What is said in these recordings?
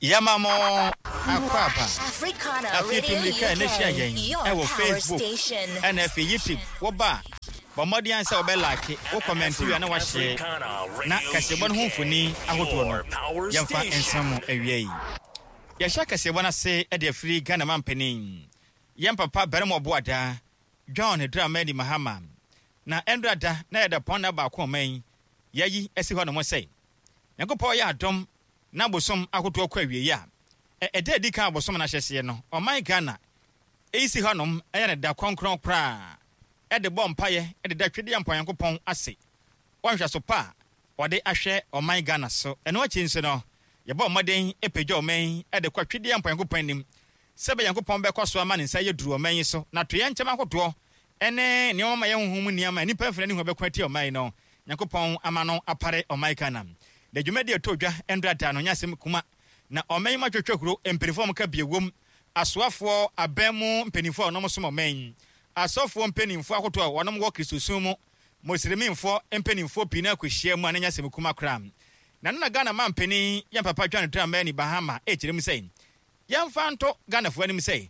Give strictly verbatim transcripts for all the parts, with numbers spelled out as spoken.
Yɛma mo akwaaba. Afei tu mmirika a na hyia yɛn ɛwɔ Facebook ɛna afei YouTube. Wɔba a, bɔ mmɔden sɛ wɔbɛ like, wo comment wie a na wahyɛ, na kaseɛbɔ no ho mfoni ahodoɔ no yɛmfa nsa mu awia yi. Yɛhyɛ kaseɛbɔ no ase de afiri Ghana mampanin, yɛn papa barima ɔboada John Dramani Mahama. Na ɛndra da na yɛda pɔn na baako ɔman yɛyi asi hɔ nom sɛ Nyankopɔn yɛ adom na bosom ahodoɔ kɔ awie a, ɛda adi kan abosom no ahyɛseɛ no, ɔman Ghana ɛyi si hɔnom ɛyɛ ne da kronkron koraa ɛde bɔ mpaeɛ ɛde da Twedeɛ Mpa Nyankopɔn ase wɔnhwɛ so pa a wɔde ahwɛ ɔman Ghana so. Ɛno akyi nso no, yɛbɔ mmɔden ɛpagya ɔman ɛde kɔ Twedeɛ Mpa Nyankopɔn anim sɛ bɛ Nyankopɔn bɛkɔ so ama ne nsa yɛ duru ɔman yi so na to yɛn nkyɛm ahodoɔ ɛne nneɛma ma yɛn honhom mu nneɛma nnipa mfina ne ho bɛkɔ atia ɔman yi no, Nyankopɔn ama no apare ɔman Ghana. Na dwumadi a ɛtɔ dwa ndra da no nyɛ asɛm kuma, na ɔman yi mu atwetwe huro mpanimfoɔ a wɔka bie wom, asoafoɔ abɛn mu mpanimfoɔ a wɔnom som ɔman yi, asɔfoɔ mpanimfoɔ ahodoɔ a wɔnom wɔ Kristosom mu, Muslimfoɔ mpanimfoɔ pii na akɔhyia mu a na nyɛ asɛm kuma koraa. Na no na Ghana mampanin yɛn papa John Dramani Mahama ɛkyerɛ mu sɛ yɛmfa nto Ghanafoɔ anim sɛ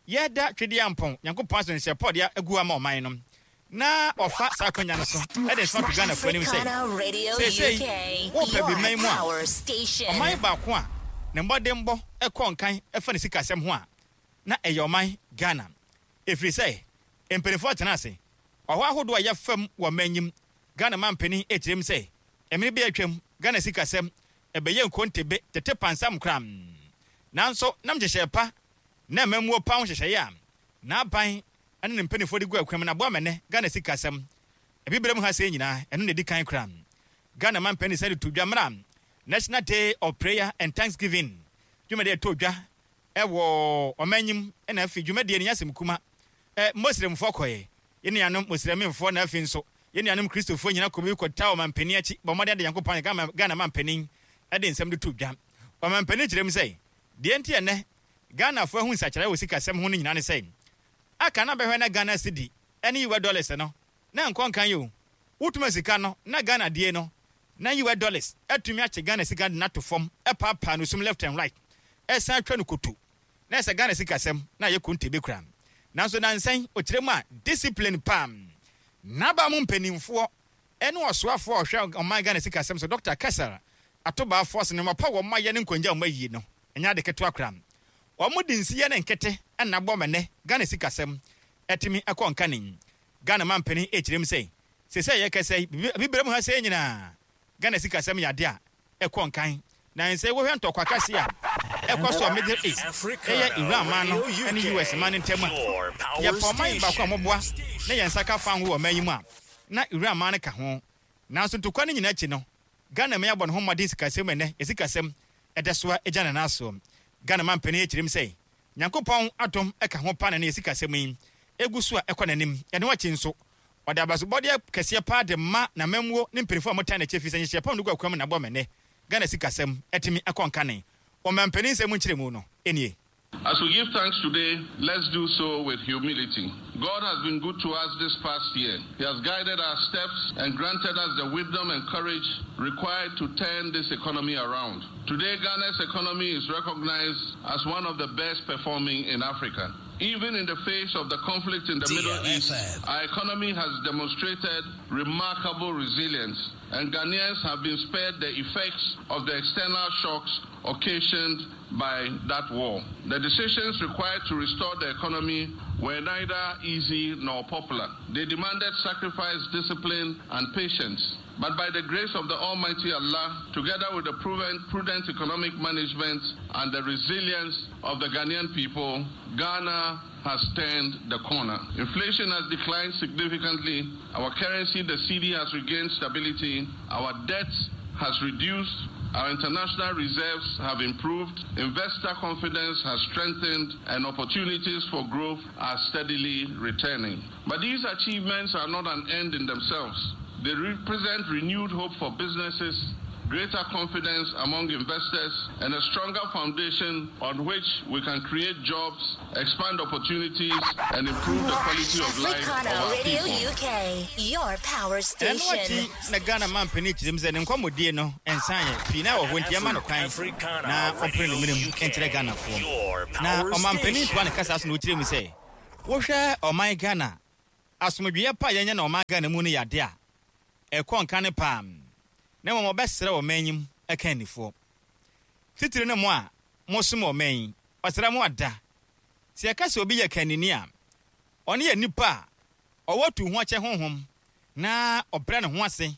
yɛda Twedeɛ Ampɔn Nyankopɔn ase nhyɛ pɔdeɛ agu ama ɔman no, na ɔfa saa akwanya no so ɛde nsɛm ato Ghanafoɔ anim sɛ seesei wopɛ bi man mu a, ɔman baako a ne mmɔdenbɔ ɛkɔ nkan ɛfa ne sikasɛm ho a, na ɛyɛ ɔman Ghana, ɛfiri sɛ mpanimfoɔ tena ase ɔhɔ ahodoɔ a yɛfam wɔ manyim. Ghana mampanin ɛkyerɛ mu sɛ ɛmene bi atwam Ghana sikasɛm ɛbɛyɛ nkontebe tete pansam koraa, nanso nam nhyehyɛe pa na mmamuo pa ho nhyehyɛeɛ a n'aban ɛne ne mpanimfoɔ de gu akwan mu na aboa mɛnɛ Ghana sikasɛm ebibire mu ha sɛ nyinaa ɛno na ɛdi kan koraa. Ghana mampanin sɛ de to dwa mmra National Day of Prayer and Thanksgiving dwumadie ɛtɔ dwa ɛwɔ ɔmanyim, ɛna afei dwumadie no nyɛ asɛm kuma. ɛ Muslimfoɔ kɔɛ, yɛn nuanom Muslimfoɔ, na afei nso yɛn nuanom Kristofoɔ nyinaa kɔ bi kɔta ɔmampanin akyi bɔ mmɔden de Nyankopɔn Ghana Ghana mampanin ɛde nsɛm de to dwa. Ɔmampanin kyerɛ mu sɛ deɛ nti ɛnɛ Ghanafoɔ ahu nsakyerɛ wɔ sikasɛm ho no nyinaa ne sɛ aka na bɛhwɛ na Ghana cedi ɛne U S dollars no na nkɔ nkan yi o, wotuma sika no na Ghana die no na U S dollars atumi akye Ghana sika de nato fam ɛpaapaa no sum left and right ɛsan atwa no koto na ɛsɛ Ghana sikasɛm na ayɛ konte bi kura. Nanso nansan ɔkyerɛ mu a discipline pam n'aba mu mpanimfoɔ ɛne ɔsoafoɔ a ɔhwɛ ɔman Ghana sikasɛm so Doctor Cassiel Ato Baah Forson ne mmapa wɔn ayɛ ne nkongya wɔn ayie no ɛnyɛ ade ketewa kora. Wɔn de nsiyɛ ne nkete ɛna abɔ mɛnɛ Ghana sikasɛm ɛtumi ɛkɔ nkane. Ghana mampanin ɛkyerɛ mu sɛ sɛsɛ yɛ kɛsɛ bibire mu ha sɛ nyinaa Ghana sikasɛm yɛ ade a ɛkɔ nkan. Na nsɛ wɔhwɛ ntɔkwa kɛse a ɛkɔ so Middle East ɛyɛ Iran man no ɛne U S man no ntam a, yɛpɛ ɔman baako a wɔboa na yɛn nsa ka fa ho wɔ ɔman yi mu a na Iran man no ka ho. Nanso ntɔkwa no nyinaa akyi no, Ghana man abɔ ne ho mmɔden sikasɛm ɛnɛ yɛ sikasɛm ɛda so a agya ne nan so. Ghana mampanin akyerɛ mu sɛ Nyankopɔn adom ɛka ho pa na ne yɛ sikasɛm yi egu so a ɛkɔ n'anim. Ɛno akyi nso ɔde abasobɔdeɛ kɛseɛ paa de ma n'amammuo ne mpanimfoɔ a wɔtan n'akyi firi sɛ nhyehyɛe pam no gu akwan mu na abɔ mɛnɛ Ghana sikasɛm ɛtumi akɔ nkane. Ɔmampanin nsɛm nkyerɛmu no nie. As we give thanks today, let's do so with humility. God has been good to us this past year. He has guided our steps and granted us the wisdom and courage required to turn this economy around. Today, Ghana's economy is recognized as one of the best performing in Africa. Even in the face of the conflict in the Middle East, our economy has demonstrated remarkable resilience, and Ghanaians have been spared the effects of the external shocks occasioned by that war. The decisions required to restore the economy were neither easy nor popular. They demanded sacrifice, discipline, and patience. But by the grace of the Almighty Allah, together with the prudent, prudent economic management and the resilience of the Ghanaian people, Ghana has turned the corner. Inflation has declined significantly. Our currency, the cedi, has regained stability. Our debt has reduced. Our international reserves have improved. Investor confidence has strengthened, and opportunities for growth are steadily returning. But these achievements are not an end in themselves. They represent renewed hope for businesses, greater confidence among investors, and a stronger foundation on which we can create jobs, expand opportunities, and improve the quality of life of Africana our Radio people. U K, your power Ɛno station. Akyi na Ghana mampanin kyerɛ mu sɛ ne nkɔmmɔdie no ɛnsan yɛ pii na wɔ hɔ, nti ɛma no kwan na ɔmpere ne mmerɛ mu nkyerɛ Ghanafoɔ. Na ɔmampanin toa ne kasa so na ɔkyerɛ mu sɛ wohwɛ ɔman Ghana, asomdwoeɛ pa a yɛnyɛ na ɔman Ghana mu no yɛ ade a ɛkɔ nka ne paa, na mmom ɔbɛsrɛ ɔman yi mu ɛka anifoɔ titiri ne mo a mosom ɔman yi. Ɔsrɛ mo ada sɛ yɛka sɛ obi yɛ kanini a, ɔne yɛ nipa a ɔwɔ tu ho akyɛ honhom na ɔbrɛ ne ho ase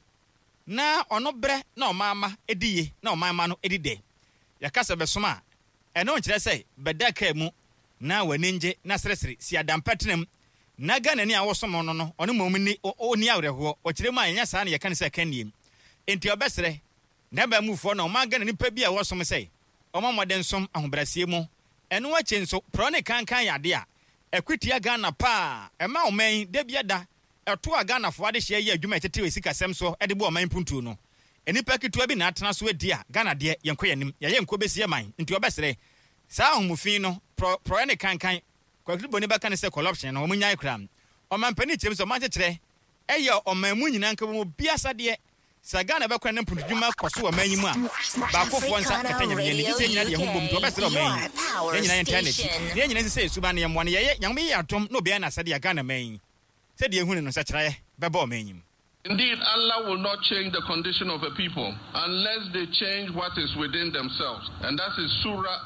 na ɔno brɛ na ɔman ma edi ye na ɔman ma no edi dɛ. Yɛka sɛ bɛsom a, ɛno nkyerɛ sɛ bɛda kaa mu na w'ani ngye na seresere si adampɛ tena mu na Ghana ni a wɔsom no no ɔno mmom ni ɔni awerɛhoɔ. Ɔkyerɛ mu a, ɛnyɛ saa na yɛka no sɛ kannie. Enti ɔbɛsrɛ na ɛbɛn mufoɔ na ɔman Ghana nipa bi a wɔsom sɛ ɔma mmɔden som ahobrɛaseɛ mu. Ɛno akyi nso, porɔ ne kankan yɛ ade a ɛkwetia Ghana paa. Ɛma ɔman yi da bi ada ɛto a Ghanafoɔ adehyeɛ yɛ adwuma a ɛtete wɔ sikasɛm so de bɔ ɔman mpuntuo no, nnipa ketewa bi na atena so adi a Ghana deɛ, yɛnkɔ yɛn yɛyɛ nkɔ bɛsi man. Nti ɔbɛsrɛ saa ahomufin no, porɔeɛ ne kankan, kwakiri bɛka ne sɛ corruption no, wɔn nyae koraa. Ɔmampanin kyerɛm sɛ ɔman kyekyerɛ ɛyɛ ɔman mu nyinaa nka mu obi asadeɛ sɛ Ghana bɛkɔ ne mpuntudwuma kɔ so wɔ ɔman yi mu a, baakofoɔ nsa kata Nyame ani gye sɛ nyina deɛ ho bom. Nti ɔbɛsrɛ ɔman yi, yɛn nyinaa yɛntaa n'akyi na yɛn nyinaa sɛ yɛsuba no yɛmmoa no yɛyɛ Nyame yɛ adom na obiara n'asɛdeɛ a Ghana man yi sɛdeɛ ɛhu ne no nsakyerɛeɛ bɛbɔ ɔman yi mu. Indeed, Allah will not change the condition of a people unless they change what is within themselves. And that is Surah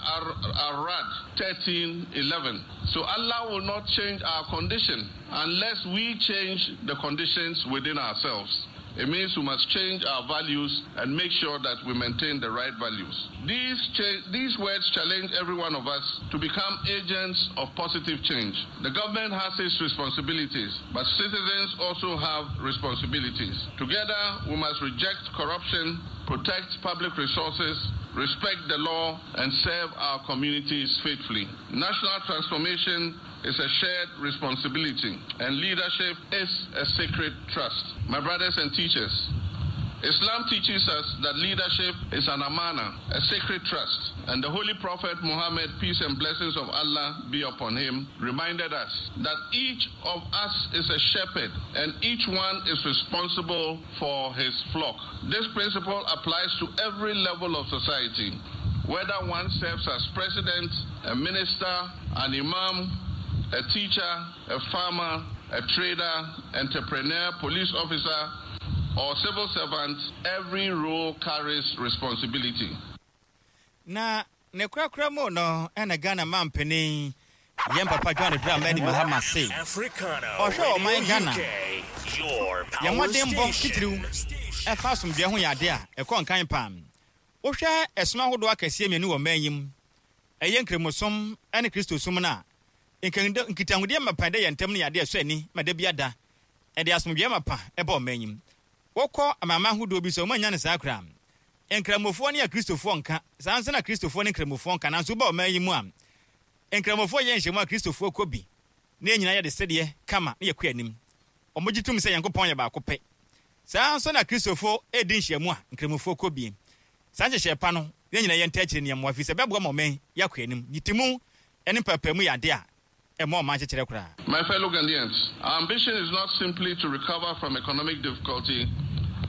Ar-Rad thirteen eleven. So Allah will not change our condition unless we change the conditions within ourselves. It means we must change our values and make sure that we maintain the right values. These, cha- these words challenge every one of us to become agents of positive change. The government has its responsibilities, but citizens also have responsibilities. Together, we must reject corruption, protect public resources, respect the law, and serve our communities faithfully. National transformation is a shared responsibility, and leadership is a sacred trust. My brothers and teachers, Islam teaches us that leadership is an amana, a sacred trust. And the Holy Prophet Muhammad, peace and blessings of Allah be upon him, reminded us that each of us is a shepherd and each one is responsible for his flock. This principle applies to every level of society, whether one serves as president, a minister, an imam, a teacher, a farmer, a trader, entrepreneur, police officer, or civil servant, every role carries responsibility. Na ne korakora mu no, ɛna Ghana mampanin yɛn papa John Dramani Mahama se ɔhwɛ ɔman Ghana, yɛn mmɔdenbɔ titiriw ɛfa asomdwoeɛ ho yɛ ade a ɛkɔ nkan paa. Wohwɛ ɛsom ahodoɔ akɛseɛ mmienu wɔ ɔman yi mu, ɛyɛ Nkramosom ne Kristosom no a, nkitahodeɛ mapa dɛ yɛn ntam no yɛ ade a ɛsɔ ani ma da bi ada ɛde asomdwoeɛ mapa ɛbɔ ɔman yi mu. Wokɔ amama ahodoɔ bi sɛ ɔma nya no saa koraa, Nkramofoɔ ne Akristofoɔ nka saa nso na Kristofoɔ ne Nkramofoɔ nka. Nanso woba ɔman yi mu a, Nkramofoɔ yɛ nhyɛmu a, Kristofoɔ kɔ bi na yɛn nyinaa yɛde sɛdeɛ kama na yɛkɔ anim. Ɔmogye tom sɛ Nyankopɔn yɛ baako pɛ. Saa nso na Kristofoɔ ɛdi nhyiamu a, Nkramofoɔ kɔ bi. Saa nhyehyɛ pa no, yɛn nyinaa yɛnta akyire nneɛma fi sɛ bɛboa ma ɔman yɛakɔ anim. Nyitimu ne mpaapaemu yɛ ade a ɛma ɔman kyekyerɛ koraa. My fellow Ghanaians, our ambition is not simply to recover from economic difficulty.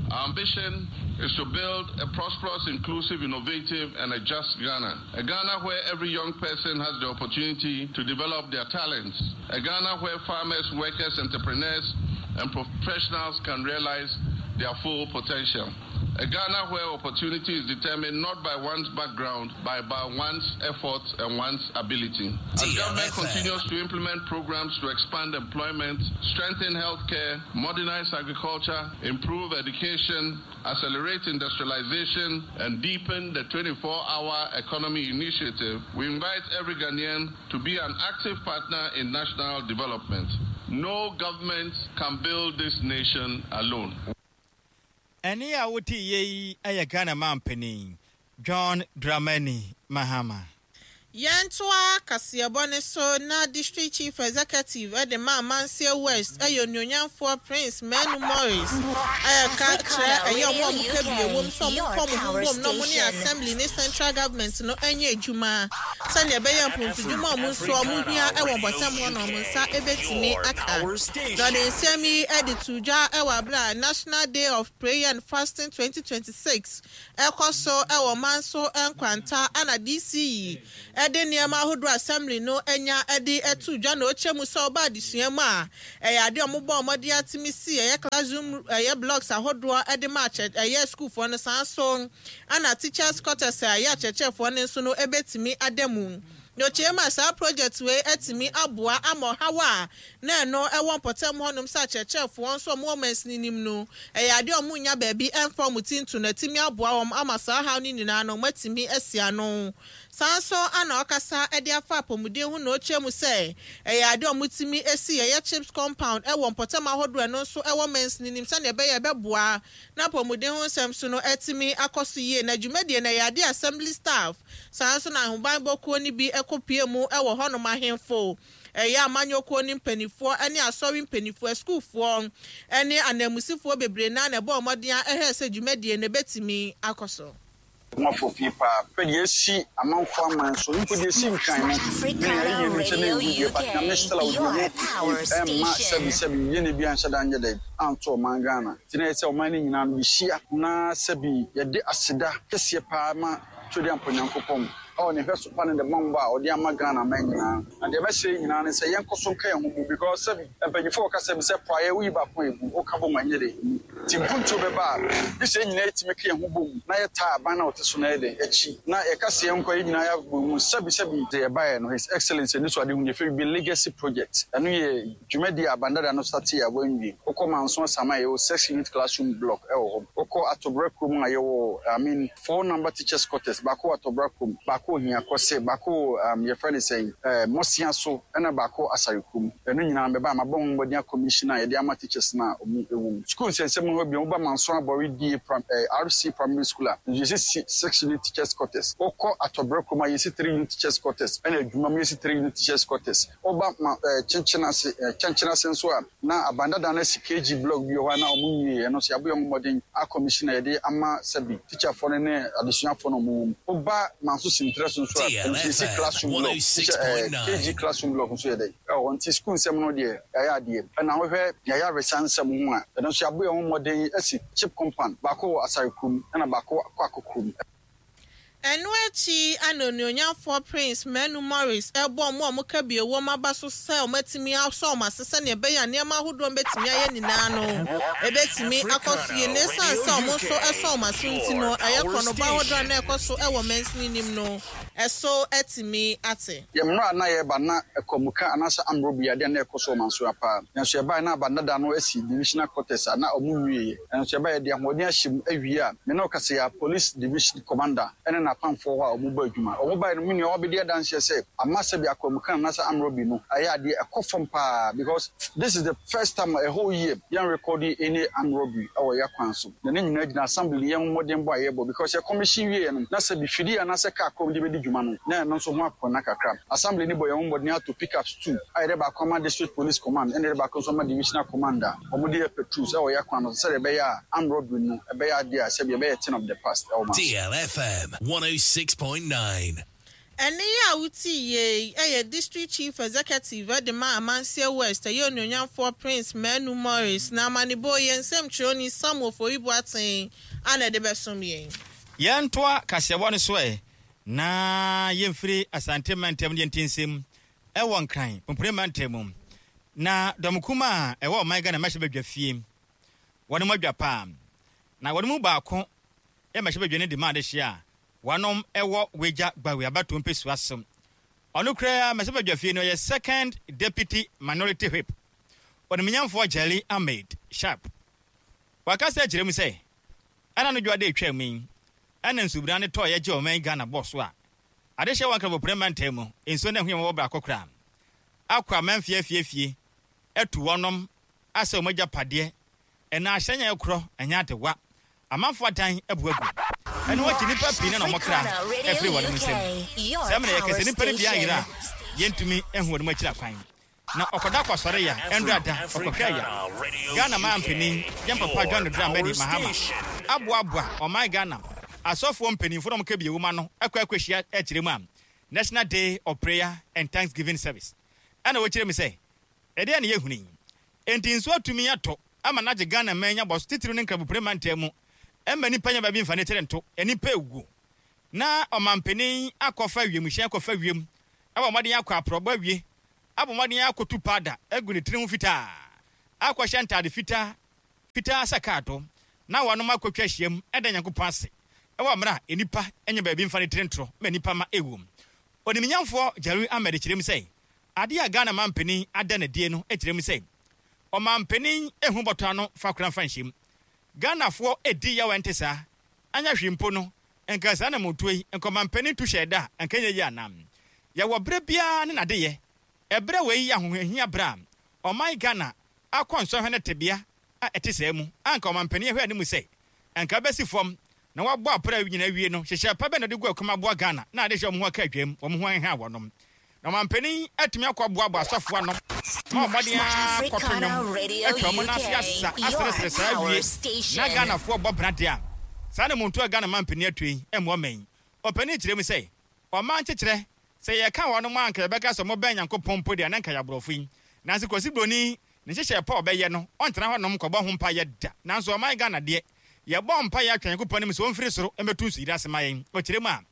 Our ambition is to build a prosperous, inclusive, innovative, and a just Ghana. A Ghana where every young person has the opportunity to develop their talents. A Ghana where farmers, workers, entrepreneurs, and professionals can realize their full potential. A Ghana where opportunity is determined not by one's background, but by one's effort and one's ability. As government continues to implement programs to expand employment, strengthen healthcare, modernize agriculture, improve education, accelerate industrialization, and deepen the twenty-four-hour economy initiative, we invite every Ghanaian to be an active partner in national development. No government can build this nation alone. Ɛne a wote yie yi yɛ Ghana mampanin John Dramani Mahama. Yɛntoa kaseɛbɔ ne so na District Chief Executive ɛde ma Amansie West, ɛyɛ onuonyamfoɔ Prince Manu Morris, ɛyɛka kyerɛ ɛyɛ ɔmo a ɔmo ka bi ewom sɛ ɔmo nkɔ ɔmo ho bom na ɔmo ne assembly ne central government no ɛnyɛ adwuma sɛnea ɛbɛyɛ mpontodwuma a ɔmo nso ɔmo hia ɛwɔ bɔtɛm hɔ na ɔmo nsa ɛbɛtumi aka. Na ɔde nsɛm yi ɛde to dwa ɛwɔ abere a National Day of Prayer and Fasting twenty twenty-six ɛkɔ so ɛwɔ Manso Nkwanta, ana D C E ɛde nneɛma ahodoɔ assembly no anya ɛde ɛto dwa. Na ɔkyɛ mu sɛ ɔba adesua mu a, ɛyɛ adeɛ a ɔmo bɔ ɔmɔden atumi si ɛyɛ classroom, ɛyɛ blocks ahodoɔ ɛde ma akyɛ ɛyɛ sukuufoɔ no, saa so ana teachers' quarters a ɛyɛ akyerɛkyerɛfoɔ no nso no ɛbɛtumi ada mu. Na ɔkyerɛ mu a, saa project wei atumi aboa ama ɔhaw a na ɛno ɛwɔ mpɔtam hɔnom sɛ akyerɛkyerɛfoɔ nso ɔmo wɔ mansini nim no, ɛyɛ adeɛ a ɔmo nya baabi ɛmfa ɔmo ti nto no, atumi aboa wɔn ama saa haw no nyinaa no ɔmo atumi asi ano. Saa nso ana ɔkasa ɛde afa apɔmuden ho na ɔkyerɛ mu sɛ ɛyɛ adeɛ a ɔmo tumi esi ɛyɛ CHPS compound ɛwɔ mpɔtam ahodoɔ, ɛno nso ɛwɔ mansini nim, sɛnea ɛbɛyɛ ɛbɛboa na apɔmuden ho nsɛm so no ɛtumi akɔ so yie. Na dwumadie no, ɛyɛ adeɛ assembly staff, saa nso na ahobanbɔkuo no bi ɛkɔ pie mu ɛwɔ hɔnom, ahemfo, ɛyɛ amanyɔkuo ne mpanimfoɔ ne asɔre mpanimfoɔ, asukuufoɔ ne ananmusifoɔ bebree naa na ɛbɔ ɔmɔden a ɛhwɛ sɛ dwumadie no ɛbɛtumi akɔ so. Mafo fie paa pɛ deɛ esi amanfo aman so mpo deɛ esi Nkran no ne ɛyɛ nim sɛ ne ewu deɛ, but Nyame still a ɔdi ho ɛmma sɛbi sɛbi yɛ ne bi anhyɛ da nyɛ dɛ anto ɔman Ghana. Nti na yɛ sɛ ɔman no nyinaa no yɛhyia na sɛbi yɛde aseda kɛseɛ paa ma Twɛde Ampo Nyankopɔn ɛwɔ ne hwɛ so pa ne ne bambɔ a ɔde ama Ghana man nyinaa. Na deɛ ɛbɛhyɛ nyinaa ne sɛ yɛnkɔ so nka yɛn ho mu, because sɛbi mpanyinfoɔ wɔka sɛbi sɛ praeɛ woyi baako a ebu woka bɔ ma nyɛ de emu, nti mpuntuo bɛba a bi sɛ nyinaa yɛtumi ka yɛn ho bom na yɛtaa aban na ɔte so na yɛde akyi na yɛka sɛ yɛn nkɔ yɛn nyinaa yɛabɔ mu. Sɛbi sɛbi deɛ yɛbaeɛ no, His Excellence ani so ade hu yɛfɛ bi legacy project. Ɛno yɛ dwumadi a abandada no start a wɔnwie. Wokɔ Manso Asama a, yɛwɔ six unit classroom block ɛwɔ hɔ. Wokɔ Atɔbra kurom a, yɛwɔ, I mean, four number teachers' quarters, baako wɔ Atɔbra kurom, baako wɔ Hiakɔse, baako wɔ um, yɛfrɛ no sɛn, ɛɛ Mɔsia so, ɛna baako Asare kurom. Ɛno nyinaa bɛba ama bɔ ho mmɔden commission a yɛde ama teachers na ɔmo ɛwɔ mu. School nsɛnsɛm hɔ bi, woba Manso Abɔre die pram ɛɛ R C Primary School a nso, yɛsi six unit teachers' quarters. Wokɔ Atɔbra kurom a, yɛsi three unit teachers' quarters, ɛna adwuma mu yɛsi three unit teachers' quarters. Woba ma ɛɛ kyenkyen ase, ɛɛ kyɛnkyɛn ase nso a, na abandada no asi K G block bi wɔ hɔ a na ɔmo nwie. Ɛno nso yɛabɔ yɛn ho mmɔden a commission a yɛde ama sɛbi teacherfoɔ no ne adesuafoɔ no ɔmo wɔ mu. Woba Manso Sintrɛ so nso a, ɛno nso yɛsi classroom block, teacher ɛɛ K G classroom block nso yɛ dɛ ɛwɔ hɔ. Nti school nsɛm no deɛ, yɛayɛ adeɛ. Ɛna wohwɛ yɛayɛ awesa nsɛm ho a, ɛno nso yɛabɔ yɛn ho mmɔden asi CHPS compound, baako wɔ Asare kurom ɛna baako kɔ Akɔ kurom. Ɛno akyi ana onuonyamfoɔ Prince Manu Morris ɛbɔ ɔmo a ɔmo ka bi ewom aba so sɛ ɔmo atumi asɔ ɔmo ase sɛnea ɛbɛyɛ a nneɛma ahodoɔ mbɛtumi ayɛ nyinaa no ɛbɛtumi akɔ so yie. Na esan sɛ ɔmo nso ɛsɔ ɔmo aso nti no, ɛyɛ kɔnɔbɔ ahodoɔ a na ɛkɔ so ɛwɔ mansini nim no ɛso ɛtumi ate. Yɛ mmerɛ a na yɛreba na ɛkɔmuka anaasɛ amorɔ bi adeɛ na ɛkɔ so ɔman so paa, nanso yɛbaeɛ na abandada no asi divisional quarters a na ɔmo nwieɛ. Nanso yɛbaeɛ de ahoɔden ahyɛ mu awie a, me ne ɔkasa yɛ police division commander ɛne n'apamfoɔ hɔ a ɔmo bɔ adwuma. Ɔmo baeɛ no, me nua wɔbɛdi adanseɛ sɛ ama sɛbi akɔmuka anaasɛ amorɔ bi no ɛyɛ adeɛ ɛkɔ fam paa, because this is the first time a whole year yɛn record any armed robbery ɛwɔ yɛ kwan so. Na ne nyinaa gyina assembly yɛn mmɔden bɔ a yɛbɔ, because yɛ commission wie no na sɛbi fidie anaasɛ car kɔm de bɛdi dwuma no, na ɛno nso ho akɔna kakra. Assembly ni bɔ yɛn ho mmɔden ato pickups two a yɛde baako ama district police command, ɛna yɛde baako nso ama divisional commander. Wɔn de yɛ patrols ɛwɔ yɛ kwan no sɛdeɛ ɛbɛyɛ a armed robbery no ɛbɛyɛ adeɛ a sɛbi ɛbɛyɛ thing of the past ɛwɔ ma so. D L F M one oh six point nine. Ɛne yi a wotii yie ɛyɛ District Chief Executive ɛde ma Amansie West, ɛyɛ onuonyamfoɔ Prince Manu Morris. Na amanebɔ yɛn nsɛmtwerɛni Samuel Foribuaten ana ɛde bɛsom yɛn. Yɛntoa kaseɛbɔ no so ɛ na yɛmfiri Asante mantam ne yɛnti nsɛm ɛwɔ Nkran Pompone mantam mu. Na dɔmkum a ɛwɔ ɔman Ghana mmɛhyɛ badwa fie wɔne mu adwa paa, na wɔne mu baako yɛ mmɛhyɛ badwa no de ma adehyeɛ a wɔnom ɛwɔ Wagya Gbawe abatoɔ mpɛsua so. Ɔno koraa mmɛhyɛ badwa fie no, ɔyɛ second deputy minority whip, ɔnimnyamfoɔ Jelly Ahmed Sharp. Wakasa akyerɛ mu sɛ ɛna no dwa de atwa mu yi, ɛna nsubura ne tɔɔ yɛgye ɔman Ghana bɔ so a adehyɛ wɔn Nkrabopore mantam mu nsuo no ɛho yɛ wɔwɔ baako koraa akɔ amanfie afiefie atu wɔnom asɛ wɔn agyapadeɛ, ɛna ahyɛn a ɛkorɔ ɛnyɛ adewa, amanfoɔ adan abu agu. Ɛno akyi nnipa pii na na wɔn kra afiri wɔn nsam. Saa mmerɛ yɛka sɛ nnipa no bi ayera a, yɛntumi nhu wɔn akyiri akwan. Na ɔkɔda kɔsɔre ya, ɛndra da, ɔkɔhwɛ ya. Ghana manpanin, yɛn papa John Dramani Mahama, aboaboa ɔman Ghana asɔfoɔ mpanimfoɔ na wɔka bi ewuma no akɔ akɔhyia akyerɛ mu a National Day of Prayer and Thanksgiving Service. Ɛna wɔkyerɛ mu sɛ, ɛdeɛ na yɛhunu yi. Enti nsuo atumi atɔ ama n'agye Ghana man nya bɔ so titiriw ne nkrabopire mantam mu ɛma nnipa nya baabi mfa ne tiri nto, nnipa ewu. Na ɔmampanin akɔfa wiemhyɛn akɔfa wiem, ɛwɔ mmɔden akɔ aprɔbɔ awie, abɔ mmɔden akɔtu paada agu ne tiri ho fitaa, akɔhyɛ ntaade fitaa, fitaa sɛ kaato, na wɔnom akɔtwa ahyiam ɛda Nyankopɔn ase. Ɛwɔ mmerɛ a nnipa nya baabi mfa ne tiri ntorɔ ma nnipa ma ewu. Onimnyamfoɔ Jerry Ahmed kyerɛ mu sɛ, adeɛ a Ghana mampanin ada n'adie no kyerɛ mu sɛ, ɔmampanin ehu bɔtɔ ano fa kora mfa nhyɛm. Ghanafoɔ edi yaw ɛnte saa, anya hwee mpo no, nka saa na motuo yi, nka ɔmampanin tu hyɛ da a, nka nyɛ yie anam. Yɛwɔ berɛ biara ne n'adeyɛ. Ɛberɛ wei yɛ ahohiahia berɛ a ɔman Ghana akɔ nsɔhwɛ ne tebea a ɛte saa mu, anka ɔmampanin ahwɛ anim sɛ, nka bɛsi fam na wabɔ apra nyinaa wie no, hyehyɛ pa bɛ na ɔde gu akuma aboa Ghana na ade hyɛ wɔn ho aka adwam, wɔn ho aheha wɔnom. Na ɔmampanin atumi akɔ aboaboa asɔfoɔ ano ma ɔmmɔden akɔto nnwom atwa wɔn ase asa aseresere saa awie na Ghanafoɔ bɔ bra deɛ a saa na muntu a Ghana mampanin atu yi mmoa man. Ɔpanin kyerɛ mu sɛ ɔman kyekyerɛ sɛ yɛka wɔn anka yɛbɛka sɛ ɔmobɛn Nyankopɔn mpo deɛ na nka yɛ aborɔfo yi. Nanso Kwasi Broni ne nhyehyɛ pa ɔbɛyɛ no ɔntena hɔnom kɔbɔ ho mpayɛ da. Nanso ɔman Ghana deɛ yɛbɔ mpayɛ atwa Nyankopɔn anim sɛ ɔmfiri soro mmɛtu nsuyiri ase ma yɛn. Ɔkyerɛ mu a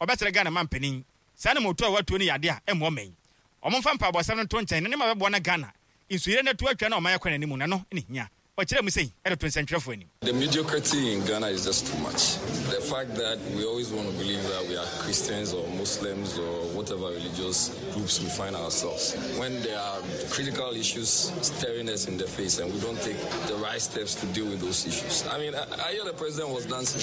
ɔbɛsrɛ Ghana mampanin saa na motu a watuo no yɛ adeɛ a ɛmmoa man. Ɔmomfa mpaebɔsɛm no nto nkyɛn na ne ma bɛboa na Ghana nsuyire no atu atwa na ɔman akɔ n'anim na no ne hia. The mediocrity in Ghana is just too much. The fact that we always want to believe that we are Christians or Muslims or whatever religious groups we find ourselves, when there are critical issues staring us in the face and we don't take the right steps to deal with those issues. I mean, I, I hear the president was dancing.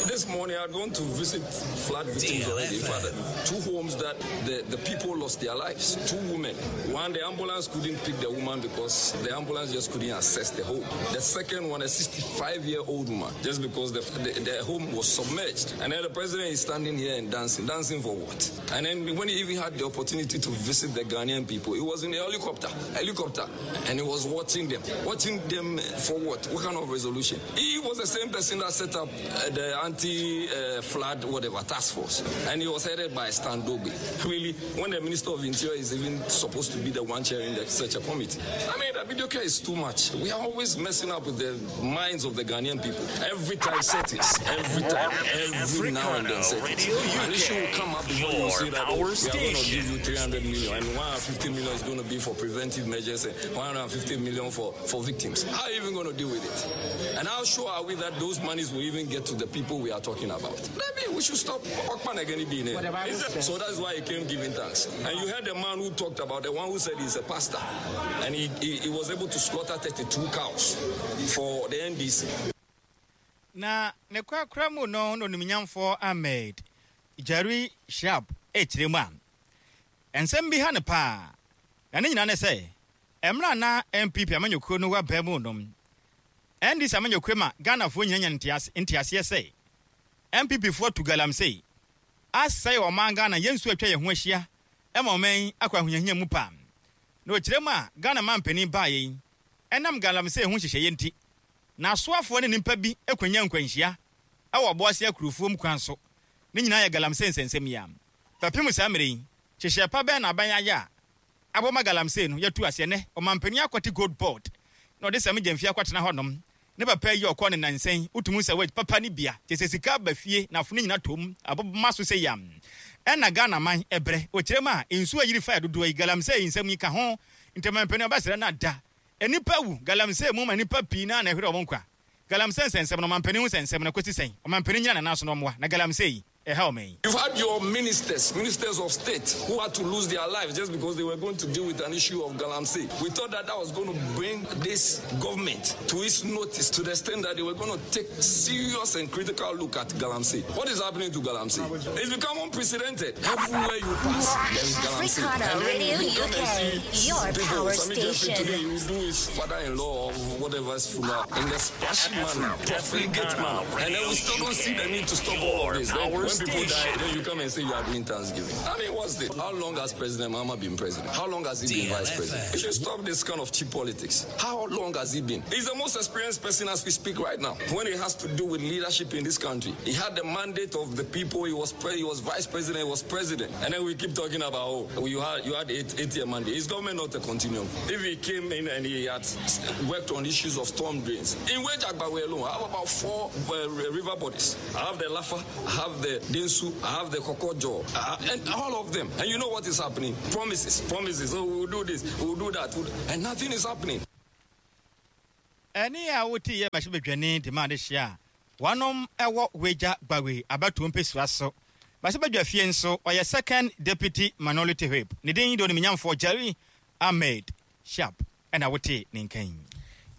This morning I'd gone to visit flood victims already. In fact, two homes that the, the people lost their lives, two women. One, the ambulance couldn't pick the woman because the ambulance just couldn't access the home. The second one, a sixty-five-year-old woman, just because the, the, the home was submerged. And then the president is standing here and dancing. Dancing for what? And then when he even had the opportunity to visit the Ghanaian people, he was in a helicopter, helicopter, and he was watching them. Watching them for what? What kind of resolution? He was the same person that set up uh, the anti-flood, uh, whatever, task force. And he was headed by Stan Dogbe. Really, when the Minister of Interior is even supposed to be the one chairing the, such a committee. I mean, the video care is too much. We are always messing up with the minds of the Ghanaian people. Every time settings, every time, every now and then settings. An issue will come up before you say that, oh, we are going to give you three hundred million and one hundred fifty million is going to be for preventive measures and one hundred fifty million for, for victims. How are you even going to deal with it? And how sure are we that those monies will even get to the people we are talking about? Maybe we should stop. So that's why he came giving thanks. And you heard the man who talked about, the one who said he's a pastor, and he, he, he was able to slaughter thirty-two cows for the N D C. Na ne kwakra mu no no nimnyamfo Ahmed Jerry Sharp ekyire mu a ensɛm bi ha ne pa na ne nyina ne sɛ emra na N P P amanyɔkuo no wa ba mu no N D C amanyɔkuo ma Ghanafoɔ nyina nya ntiase ntiaseɛ sɛ N P P foɔ tu galamsey asɛe ɔman Ghana yɛnsu atwa yɛn ho ahyia ɛma ɔman akɔ ahohiahia mu pa na okyire mu a Ghana mampanin baa yɛn ɛnam galamsey ho hyehyɛ nti na asoafoɔ ne nimpa bi ekwanya nkwanhyia ɛwɔ ɔboase akurufoɔ mu kwan so ne nyinaa yɛ galamsey nsɛnsɛm yi a pɛpem saa mmere yi hyehyɛ pa bɛn na aban ayɛ a abɔma galamsey no yɛtu aseɛ nɛ ɔmampanin akɔte gold board na ɔde sɛm gyamfi akɔtena hɔnom ne papa yi ɔkɔ ne nansɛn wotumu sɛ wɔ papa ne bia kyɛ sɛ sika ba fie na afo no nyina tom abɔboma so sɛ yam ɛna Ghana man ɛbrɛ ɔkyerɛ mu a nsuo ayiri fa dodoɔ yi galamsey nsɛm yi ka ho ntɛmampanin ɔbɛsrɛ no ada enipa wu galamsey mu ma nipa pii na na ɛhwere ɔmo nkwa galamsey nsɛnsɛm no ɔmampanin ho nsɛnsɛm no kɔsi sɛn ɔmampanin nyina nana so no ɔmoa na galamsey ɛha ɔman. You've had your ministers, ministers of state, who had to lose their lives just because they were going to deal with an issue of galamsey. We thought that that was going to bring this government to its notice, to the extent that they were going to take serious and critical look at galamsey. What is happening to galamsey? It's become unprecedented. Everywhere you pass, there is galamsey. Africana And then Radio you come and U K, see your people, power Sammy Gyamfi station. today, he will do his father-in-law or whatever is funeral in the splashy manner, profligate manner. And then we still don't see the need to stop all of this. Then when people die, then you come and say you are doing Thanksgiving. I mean, what's this? How long has President Mahama been president? How long has he been vice president? You should stop this kind of cheap politics. How long has he been? He's the most experienced person as we speak right now. When it has to do with leadership in this country, he had the mandate of the people. He was pre- he was vice president. He was president. And then we keep talking about, oh, you had you had eight, eight year mandate. Is government not a continuum? If he came in and he had worked on issues of storm drains in Weija Gbawe alone, I have about four uh, river bodies. I have the Lafa, I have the Densu, I have the Kokojo, uh, and all of them. And you know what is happening? Promises, promises. Oh, we will do this, we will do that, we'll do-, and nothing is happening. Ɛne a wote yɛ mmarahyɛbadwani de ma ade hyia a wɔnom ɛwɔ Weija Gbawe abatoɔ mpɛsua so mmarahyɛbadwa fie nso ɔyɛ second deputy minority whip ne din de onimnyamfoɔ Jerry Ahmed Sharp ɛna wote ne nkan.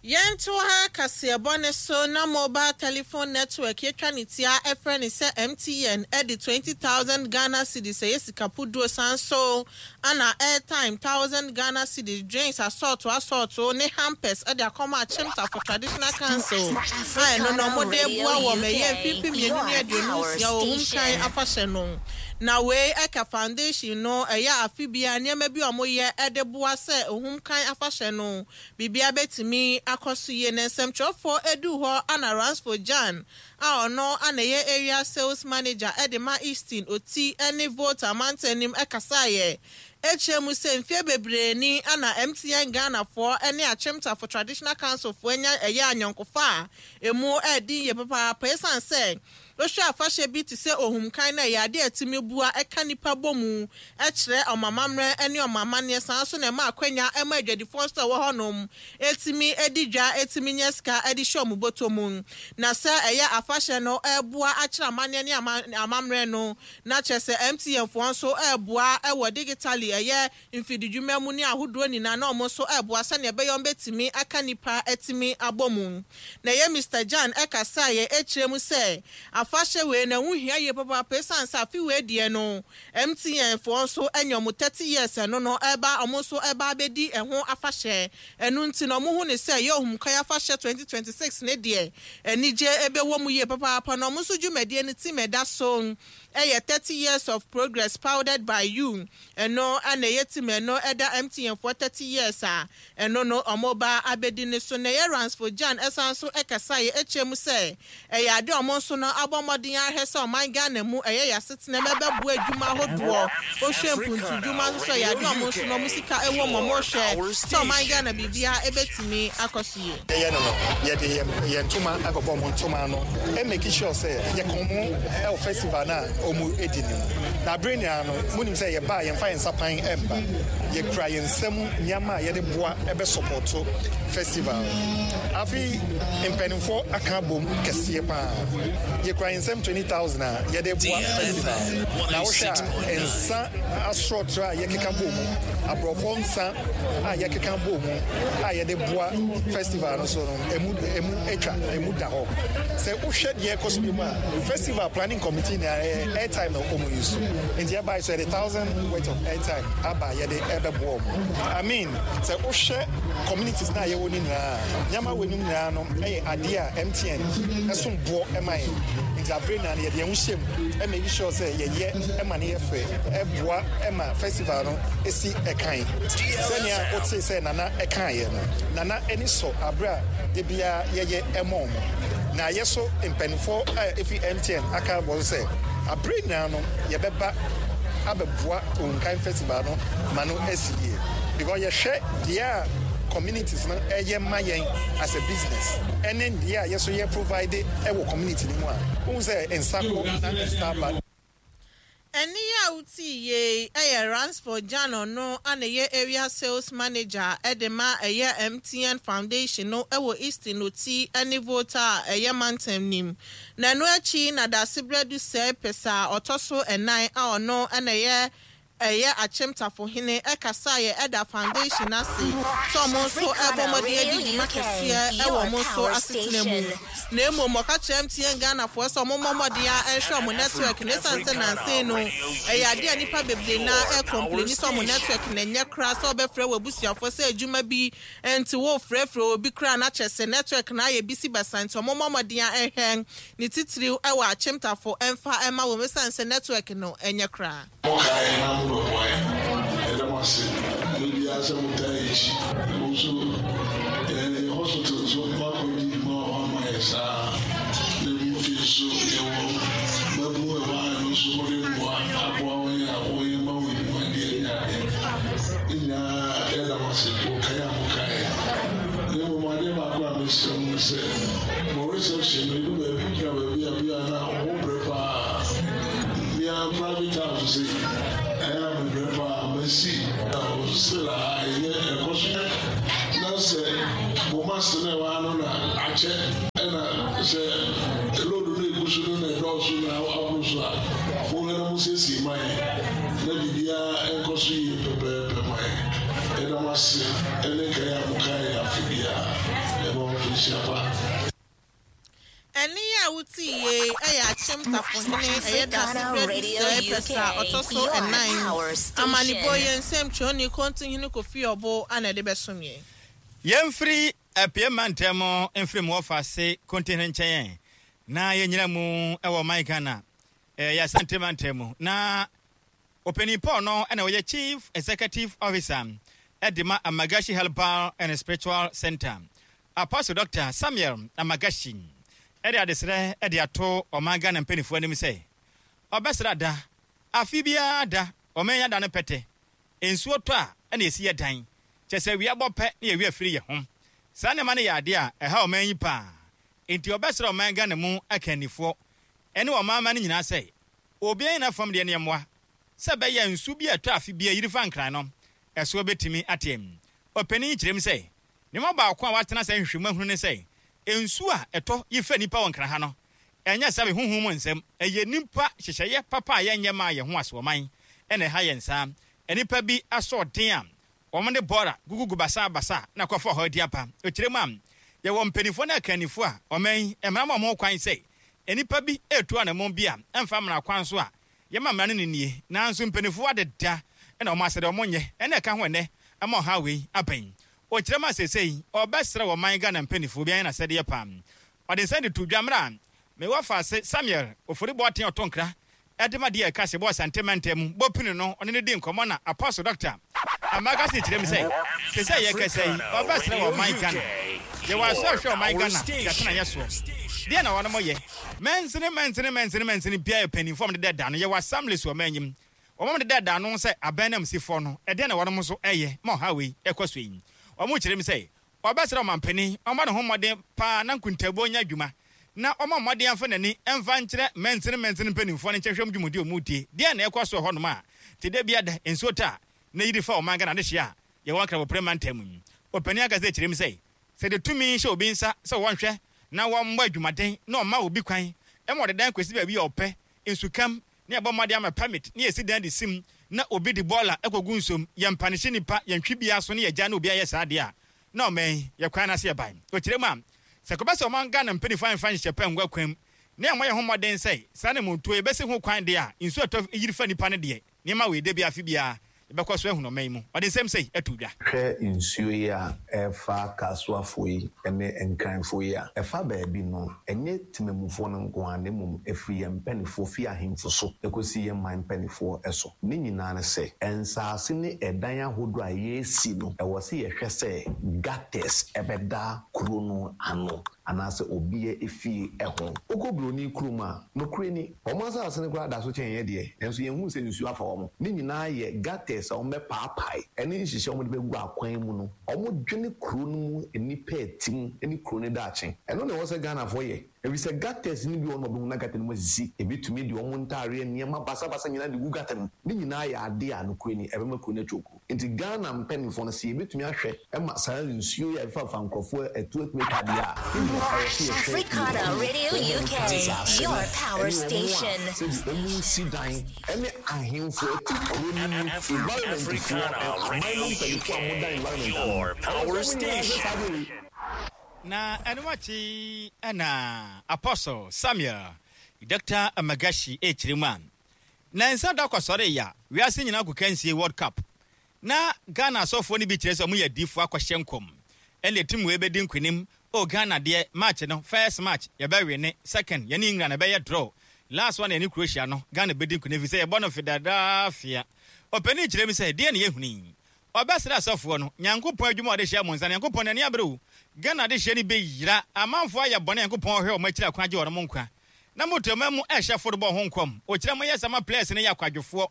Yɛnto ha kaseɛbɔ ne so na mobile telephone network yɛtwa ne tia ɛfrɛ ne sɛ M T N ɛde twenty thousand Ghana cedis ɛyɛ sika puduo san so ana airtime thousand Ghana cedis, drinks asɔɔto asɔɔto ne hampers ɛde akɔma Akyemtafo Traditional Council a ɛno no ɔmode boa wɔ mɛyɛ mfimfini mmienu ne aduonu nsia ohum kan afahyɛ no. Na wei ɛka foundation no ɛyɛ afe bia nneɛma bi a wɔyɛ ɛde boa sɛ ohum kan afahyɛ no biribia bɛtumi akɔ so yie. Na nsɛmtwerɛfoɔ edu hɔ ana Ransford Jan a ɔno ana ɛyɛ area sales manager ɛde ma Eastern Oti ɛne Volta amantanim ɛkasaeɛ ekyir mu sɛ mfie bebree ni ana M T N Ghanafoɔ ɛne Akyemtafo Traditional Council foɔ anya ɛyɛ anyɔnkofa a emu ɛɛdi yie papaapa, esan sɛ wohwɛ afahyɛ bi te sɛ ohumkan no ɛyɛ adeɛ a ɛtumi bua ɛka nipa bɔ mu ɛkyerɛ ɔmamammerɛ ne ɔmamanneɛ san so na ɛma akwanya ɛma adwadifoɔ nso a ɛwɔ hɔnom ɛtumi adi dwa ɛtumi nyɛ sika ɛde hyɛ ɔmo bɔtɔ mu. Na sɛ ɛyɛ afahyɛ no ɛboa akyerɛ amanneɛ ne ama- amammerɛ no na kyerɛ sɛ M T N foɔ nso ɛɛboa ɛwɔ digitally ɛyɛ mfididwuma mu ne ahodoɔ nyinaa na ɔmo nso ɛɛboa sɛnea ɛbɛyɛ ɔmo bɛtumi aka nipa ɛtumi abɔ mu. Na ɛyɛ Mister Jan ɛkasa yɛ ɛkyerɛ mu sɛ afahyɛ wei na ɛho hia yie papaapa esiane sɛ afe wei deɛ no M T N foɔ nso anya ɔmo thirty years ɛno no ɛba ɔmo nso ɛba abɛdi ɛho afahyɛ. Ɛno nti na ɔmo hu ne sɛ ɛyɛ ohumkan afahyɛ twenty twenty six ne deɛ anigye ɛbɛwɔ mu yie papaapa. Na ɔmo nso dwumadie no team ɛda so ɛyɛ thirty years of progress powered by you. Ɛno ɛna ɛyɛ team ɛno ɛda M T N foɔ thirty years a ɛno no ɔmo ba abɛdi ne so. Na ɛyɛ Ransford Jan ɛsan so ɛkasa yɛ ɛkyɛ mu sɛ ɛyɛ ade a ɔmo nso no abɔ mmɔden ahwɛ sɛ ɔman Ghana mu ɛyɛ yɛasetena mu ɛbɛboa adwuma ahodoɔ wohwɛ mpuntudwuma nso so ɛyɛ ade a ɔmo nso no ɔmo sika ɛwɔ mu ɔmo hwɛ sɛ ɔman Ghana biribiara ɛbɛtumi akɔ so yie. Yɛyɛ no no yɛde yɛn yɛn ntoma akɔbɔ ɔmo ntoma no ɛ make sure sɛ yɛka ɔmo ɛwɔ festival na ɔmo edi ne mu. Na abere nyinaa no munim sɛ yɛba a yɛmfa yɛn nsa pan ɛmba, yɛkura yɛn nsam nneɛma a yɛde boa ɛbɛ support festival. Afei mpanimfoɔ aka abom kɛseɛ paa, yɛkura yɛn nsam twenty thousand a yɛde boa festival. Na wohwɛ a nsa asorɔtoro a yɛkeka bɔ mu, aborɔfo nsa a yɛkeka bɔ mu a yɛde boa festival no so no emu emu atwa emu da hɔ. Sɛ wohwɛ deɛ ɛkɔ so bi mu a festival planning committee na ɛyɛ airtime na ɔmo use nti ɛbaa so yɛde thousand worth of airtime aba yɛde ɛbɛboa ɔmo. I mean, sɛ wohwɛ communities na yɛwɔ ne nyinaa nneɛma wɔ anim nyinaa no ɛyɛ adeɛ a M T N ɛsom boɔ ɛma yɛn nti abere nyinaa no yɛde yɛn ho hyɛ mu ɛ make sure sɛ yɛyɛ ɛma no yɛ fɛ ɛboa ɛma festival no esi ɛkan sɛnea wote sɛ nana ɛkaeɛ no. Nana ani sɔ abere a de biara yɛyɛ ɛma ɔmo na yɛ so mpanimfoɔ a efi M T N aka bɔ so sɛ abere nyinaa no yɛbɛba abɛboa Ohunkan festival no ma no asi yie because yɛhwɛ deɛ a communities no ɛyɛ ma yɛn as a business ɛne deɛ a yɛso yɛ provide ɛwɔ community no mu a wohu sɛ nsa kɔ na nsa aba. Ɛne Ɛne a wotii yei ɛyɛ Ransford Jano no ana ɛyɛ area sales manager ɛde ma ɛyɛ M T N Foundation no ɛwɔ Eastern Oti ɛne Volta a ɛyɛ mantam nim. Na ɛno akyi na Dasebrɛ Sɛ Pɛsɛ a ɔtɔ so ɛnan a ɔno ɛna ɛyɛ ɛyɛ Akyemtafohene ɛkasa yɛ ɛda foundation ase sɛ ɔmo nso ɛbɔ mmɔden adi dwuma kɛseɛ ɛwɔ ɔmo nso asetena mu. Na mmom ɔka kyerɛ M T N Ghanafoɔ sɛ ɔmo mmɔ mmɔden a ɛnhwɛ ɔmo network ne ɛsiane sɛ nansen no ɛyɛ adeɛ a nnipa bebree na ɛcomplain sɛ ɔmo network na ɛnyɛ koraa, sɛ ɔbɛfrɛ wɔ abusuafoɔ sɛ adwuma bi nti wɔfrɛfrɛ obi koraa na kyerɛ sɛ network na ayɛ bisi basa, nti ɔmo mmɔ mmɔden a ɛhwɛ ne titiriw ɛwɔ Akyemtafo ɛmfa ɛma wɔn ɛsiane sɛ network no ɛnyɛ koraa. Mokae na mobɛboa yɛn, ɛda mo ase ne biara sɛ motaa akyi. Mo nso yɛ hospital nso moakɔdi dwuma wɔ hɔ ama yɛ saa, na bi mfi nso yɛwɔ mabu ɛhɔ a ɛno nso mode mmoa aboa wɔn a wɔyɛ ma wɔ adwumadeɛ ne adeɛ ne nyinaa. Yɛda mo ase wɔkae a mokae. Na mmom adeɛ baako a mesrɛ mo sɛ mo reception no, ɛdu baabi gyina baabi a bi a na ɔmo brɛ paa. Mia private house se ɛyɛ a mebrɛ paa masi still a ɛnyɛ ɛkɔ so, na sɛ mo mast no ɛwɔ ano na akyɛ, ɛna sɛ load no egu so no na ɛdɔɔso na aboro so a, mohwɛ na mosiesie ma yɛ na biribiara ɛnkɔ so yie pɛpɛɛpɛ ma yɛ. Ɛda mo ase ɛne nkae a mokae afe biara. Ɛma mo mfinhyia pa. Ɛne a wotii yei ɛyɛ Akyemtafohene ɛyɛ Dasebrɛ Sɛ Pɛsɛ a ɔtɔ so ɛnan. Amanebɔ yɛ nsɛm twɛni Kɔntohene Kofi Ɔbo ana ɛde bɛsom yɛn. Yɛmfiri apie mantam mfiri mu wɔfa ase Kɔntohene nkyɛn na yɛnyina mu ɛwɔ ɔman Ghana, ɛyɛ Asante mantam mu, na ɔpanin Paul no ɛna ɔyɛ Chief Executive Officer ɛde ma Amagashi Herbal and Spiritual Center, Apostle Doctor Samuel Amagashi, ɛde adesrɛ ɛde ato ɔman Ghana mpanimfoɔ anim sɛ ɔbɛsrɛ da afe biara da ɔman yi ada no pɛtɛ nsuo tɔ a ɛna esi yɛ dan kyɛ sɛ wia bɔ pɛ ne yɛwia firi yɛ ho. Saa nneɛma no yɛ adeɛ a ɛha ɔman yi paa, nti ɔbɛsrɛ ɔman Ghana mu akannifoɔ ɛne ɔman ma no nyinaa sɛ obiara nyina fam deɛ nneɛmoa sɛ bɛyɛ nsu bi a ɛtɔ afe bi a yiri fa Nkran no ɛsoɔ bɛtumi ateɛ. Ɔpanin kyerɛ mu sɛ nneɛma baako a watena sɛ nhwehwɛmu ahunu ne sɛ nsu a ɛtɔ yi fa nipa wɔ Nkran ha no ɛnyɛ sɛ huhum mu nsɛm, ɛyɛ nipa hyehyɛeɛ papa a yɛnyɛ maa yɛn ho asoɔman ɛna ɛha yɛn saa. Nipa bi asɔɔden a wɔn de bɔɔla gugugu basabasa na kɔfa hɔ adi aba. Okyerɛ mu a yɛwɔ mpanimfoɔ ne akannifoɔ a ɔman yi mmara ma wɔn kwan sɛ nipa bi etu anamɔ bi a ɛmfa mmara kwan so a yɛma mmara no ne nie, nanso mpanimfoɔ adeda ɛna wɔn asɛde wɔn nyɛ ɛna ɛka ho ɛnɛ ɛma ɔha wei abɛn. Okyerɛ mu a seesei ɔbɛsrɛ wɔ man Ghana mpanimfoɔ bi ayɛ n'asɛdeɛ paa. Ɔde nsa de to dwa mmerɛ a mewɔ faase Samuel Ofori Bɔɔten ɔtɔ nkra ɛde ma deɛ ɛka sɛ bɔ Asante mantam mu bɔpini no ɔne ne di nkɔmmɔ, na Apostle Doctor Amagasi kyerɛ mu sɛ sɛ sɛ yɛkasa yi ɔbɛsrɛ wɔ ɔman Ghana yɛwɔ aso ahwɛ ɔman Ghana yɛtena yɛ soɔ deɛ na wɔnom yɛ mɛnsene mɛnsene mɛnsene mɛnsene biara yɛ mpanimfoɔ a wɔde dɛ da no. Yɛwɔ assemblies wɔ ɔman nyim wɔn de dɛ da no sɛ abɛn nam sifoɔ no ɛdeɛ na wɔnom nso ɛyɛ ma ɔha wei ɛkɔ so yi. Wɔn kyerɛ mu sɛ ɔbɛsrɛ ɔmampanin ɔma ne ho mmɔden paa na nkuntabuo nyɛ adwuma na ɔma mmɔden afa n'ani ɛmfa nkyerɛ mɛnsene mɛnsene mpanimfoɔ no nkyɛn hwɛm dwumadi a ɔmu die deɛ na ɛkɔ so wɔ hɔnom a te da bi ada nsuo ta a na yiri fa ɔman Ghana de hyia a yɛwɔ Nkrabopere mantam mu. Ɔpanin akasa kyerɛ mu sɛ sɛ de tumi hyɛ obi nsa sɛ wɔnhwɛ na wɔmmɔ adwumaden na ɔma obi kwan ɛma ɔde dan kɔsi baabi a ɔpɛ nsukam ne ɛbɔ mmɔden ama permit ne yɛsi dan de sim na obi de bɔɔla ɛkɔgu nsuom, yɛmpa ne nipa yɛntwi bia so ne yɛgya na obi ayɛ saa deɛ a na ɔman yɛ kwan n'ase yɛ ban. Ɔkyerɛ mu a sɛ kɔbɛ sɛ ɔman Ghana mpanimfoɔ amfa nhyɛ pɛ ngua kwan mu ne ɛmɔ yɛn ho mmɔden sɛ saa ne montuo yɛbɛsi ho kwan deɛ a nsuo ɛtɔ yiri fa nipa no deɛ nneɛma wei de bi afe biara yɛbɛkɔ so ahunu ɔman yi mu. Ɔde nsɛm sɛ ɛto dwa. Hwɛ, nsuo yi a ɛfa Kasoafoɔ yi ne Nkranfoɔ yi a ɛfa baabi no, ɛnyɛ temamufoɔ no nko ara, na mmom ɛfiri yɛn mpanimfoɔ fi ahemfo so ɛkɔsi yɛn man mpanimfoɔ so. Ne nyinaa ne sɛ nsaase ne ɛdan ahodoɔ a yɛresi no, ɛwɔ sɛ yɛhwɛ sɛ gutters ɛbɛda kuro no ano anaasɛ obiara efie ɛho. Wokɔ buroni kurom a, nokorɛ ni, wɔn asase no koraa da so kyɛn yɛ deɛ, nanso yɛnhu sɛ nsuo afa wɔn. Ne nyinaa yɛ gutters a wɔn bɛpaapae ɛne nhyehyɛ wɔn de bɛgu akwan mu no. Wɔn dwene kuro no mu nnipa ɛtim ne kuro no daakye. Ɛno na ɛwɔ sɛ Ghanafoɔ yɛ. Ɛfiri sɛ gutters no bi wɔ no ɔbɛhu na gutter no mu asisi, ebi tumi de ɔmo ntaareɛ nneɛma basabasa nyinaa de gu gutter mu. Ne nyinaa yɛ ade a nokorɛ ni ɛbɛma kuro no atwa. Nti Ghana mpanimfoɔ no, sɛ yɛbɛtumi ahwɛ ɛma saa nsuo yi a ɛfafa nkurɔfoɔ ɛtu atumi atwa adeɛ a, ɛwɔ sɛ yɛhwɛ. Africana Radio U K, your power station. Sɛbi ɔmu si dan ɛne ahemfo ɛte kuro no mu, environmentfoɔ, aman no mpanimfoɔ a moda environment. Your power station. Na ɛno akyi ɛna Apostle Samuel Doctor Amagashi ɛkyerɛ mu a na nsa da kɔsɔre ya wiase nyinaa kɔ kansie World Cup na Ghana asɔfoɔ no bi kyerɛ sɛ ɔmo yɛ adiifoɔ akɔhyɛ nkɔm ɛna team wei bɛdi nkonim o. Ghana deɛ, match no, first match yɛbɛwe ne second yɛne England ɛbɛyɛ draw, last one yɛne Croatia no Ghana bɛdi nkonim fi sɛ yɛbɔ no Philadelphia. Ɔpanin kyerɛ mi sɛ deɛ ne yɛhunu yi, ɔbɛsrɛ asɔfoɔ no, Nyankopɔn adwuma a ɔde hyɛ mo nsa no, Nyankopɔn n'ani abere wo. Ghana de hyɛ no bɛyira amanfoɔ ayɛ bɔne, Nyankopɔn ɔhwɛ ɔmo akyiri akwan agye wɔn nkwa na moto ma mu ɛhyɛ football ho nkɔm. Ɔkyerɛ mo yɛ sɛ ma players no yɛ akwadwofoɔ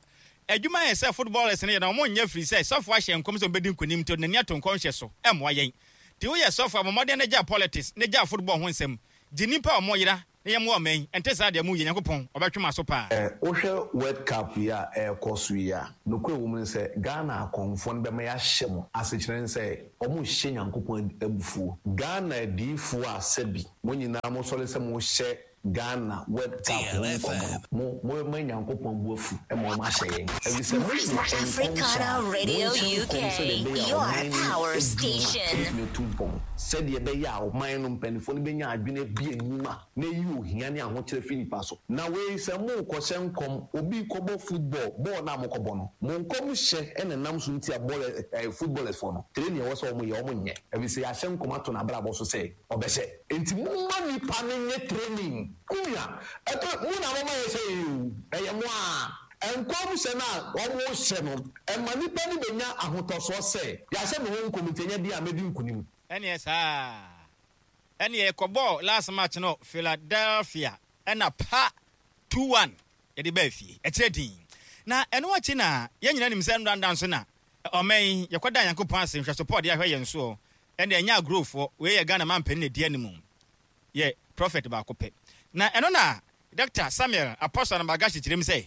adwuma yɛ sɛ footballers no yɛ na ɔmo nyɛ firi sɛ sɔfoɔ ahyɛ nkɔm sɛ ɔmbɛdi nkonim nti n'ani ato nkɔm hyɛ so. Ɛmmoa yɛn nti woyɛ sɔfoɔ a, mmɔden no gya politics ne gya football ho nsɛm, gye nnipa a ɔmo yera na yɛmmoa ɔman yi. Ɛnte saa deɛ, mu yɛ Nyankopɔn ɔbɛtwe ma so paa. Ɛ wohwɛ World Cup yi a ɛrekɔ so yi a, nokorɛ wɔ mu ne sɛ Ghana akɔmfoɔ no bɛma yɛahyɛ mo asekyerɛ ne sɛ ɔmo hyɛ Nyankopɔn abufuo. Ghana adiifoɔ a sɛbi mo nyinaa mosɔre sɛ mohyɛ Ghana World Cup ho nkɔmmɔ no, mo mo ma Nyankopɔn bu afu ma ɔmo ahyɛ yɛn, ɛfiri sɛ moyɛ Africana Radio U K, your power station. Ɛtumi atu mpɔn sɛdeɛ ɛbɛyɛ a ɔman no mpanimfoɔ no bɛnya adwene bi enyuma na eyi ohia ne ahokyerɛ fi nipa so. Na wei sɛ mo kɔhyɛ nkɔm, obi kɔbɔ football bɔɔl na mo kɔbɔ no, mo nkɔm hyɛ ɛna nam so nti a bɔɔl ɛɛ footballers fo no training ɛwɔ sɛ wɔn yɛ, wɔn nyɛ, ɛfiri sɛ yɛahyɛ nkɔm ato n'abrabɔ so sɛ ɔbɛhyɛ. Nti mo ma nipa no nye training kunya ɛtɔ mo na mo ma yɛ sɛ yɛ o, ɛyɛ mo a nkɔm hyɛ no a wɔn hyɛ no ɛma nipa no bɛnya ahotɔsoɔ sɛ yɛahyɛ me ho nkɔm nti ɛnyɛ deɛ a mɛdi nkunim. Ɛneɛ saa ɛneɛ yɛkɔbɔɔ last match no Philadelphia ɛna pa two one yɛde baa fie. Ɛkyerɛ din na ɛno akyi na yɛn nyinaa nim sɛ ndanda nso na ɔman yi yɛkɔda Nyankopɔn ase nhwɛso pɔ ɔde ahwɛ yɛn soɔ. Ɛne ɛnyɛ agorɔfoɔ wei yɛ Ghana mampanin na ɛdi anim yɛ prophet baako pɛ na ɛno na Doctor Samuel Apostle Anamagashi kyerɛ mu sɛ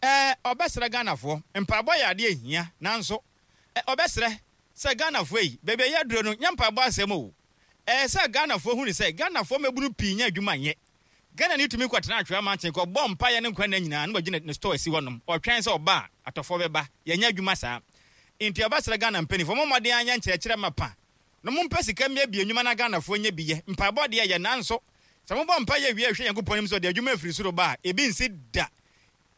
ɛɛ ɔbɛsrɛ Ghanafoɔ, mpaebɔ yɛ adeɛ hia, nanso ɛ ɔbɛsrɛ sɛ Ghanafoɔ yi baabi a yɛaduro no nyɛ mpaebɔ asɛm o. Ɛɛ sɛ Ghanafoɔ hu ne sɛ Ghanafoɔ mɛbunu pii nyɛ adwuma nyɛ. Ghana ne tumi kɔtena atwea mankyɛn kɔbɔ mpaeɛ ne nkwa nna nyinaa na wagyina ne store asi hɔnom ɔtwɛn sɛ ɔba a atɔfoɔ bɛba. Yɛnyɛ adwuma saa nti ɔbɛsrɛ Ghana mpanimfoɔ, mo mmɔden anyɛ nkyerɛkyerɛ ma pa na mompɛ sika mmea bi nnwuma na Ghanafoɔ nyɛ bi yɛ. Mpaebɔ deɛ yɛ, nanso sɛ mobɔ mpa yɛ wie a, hwɛ Nyankopɔn anim sɛ ɔde adwuma afiri soro ba a ebi nsi da.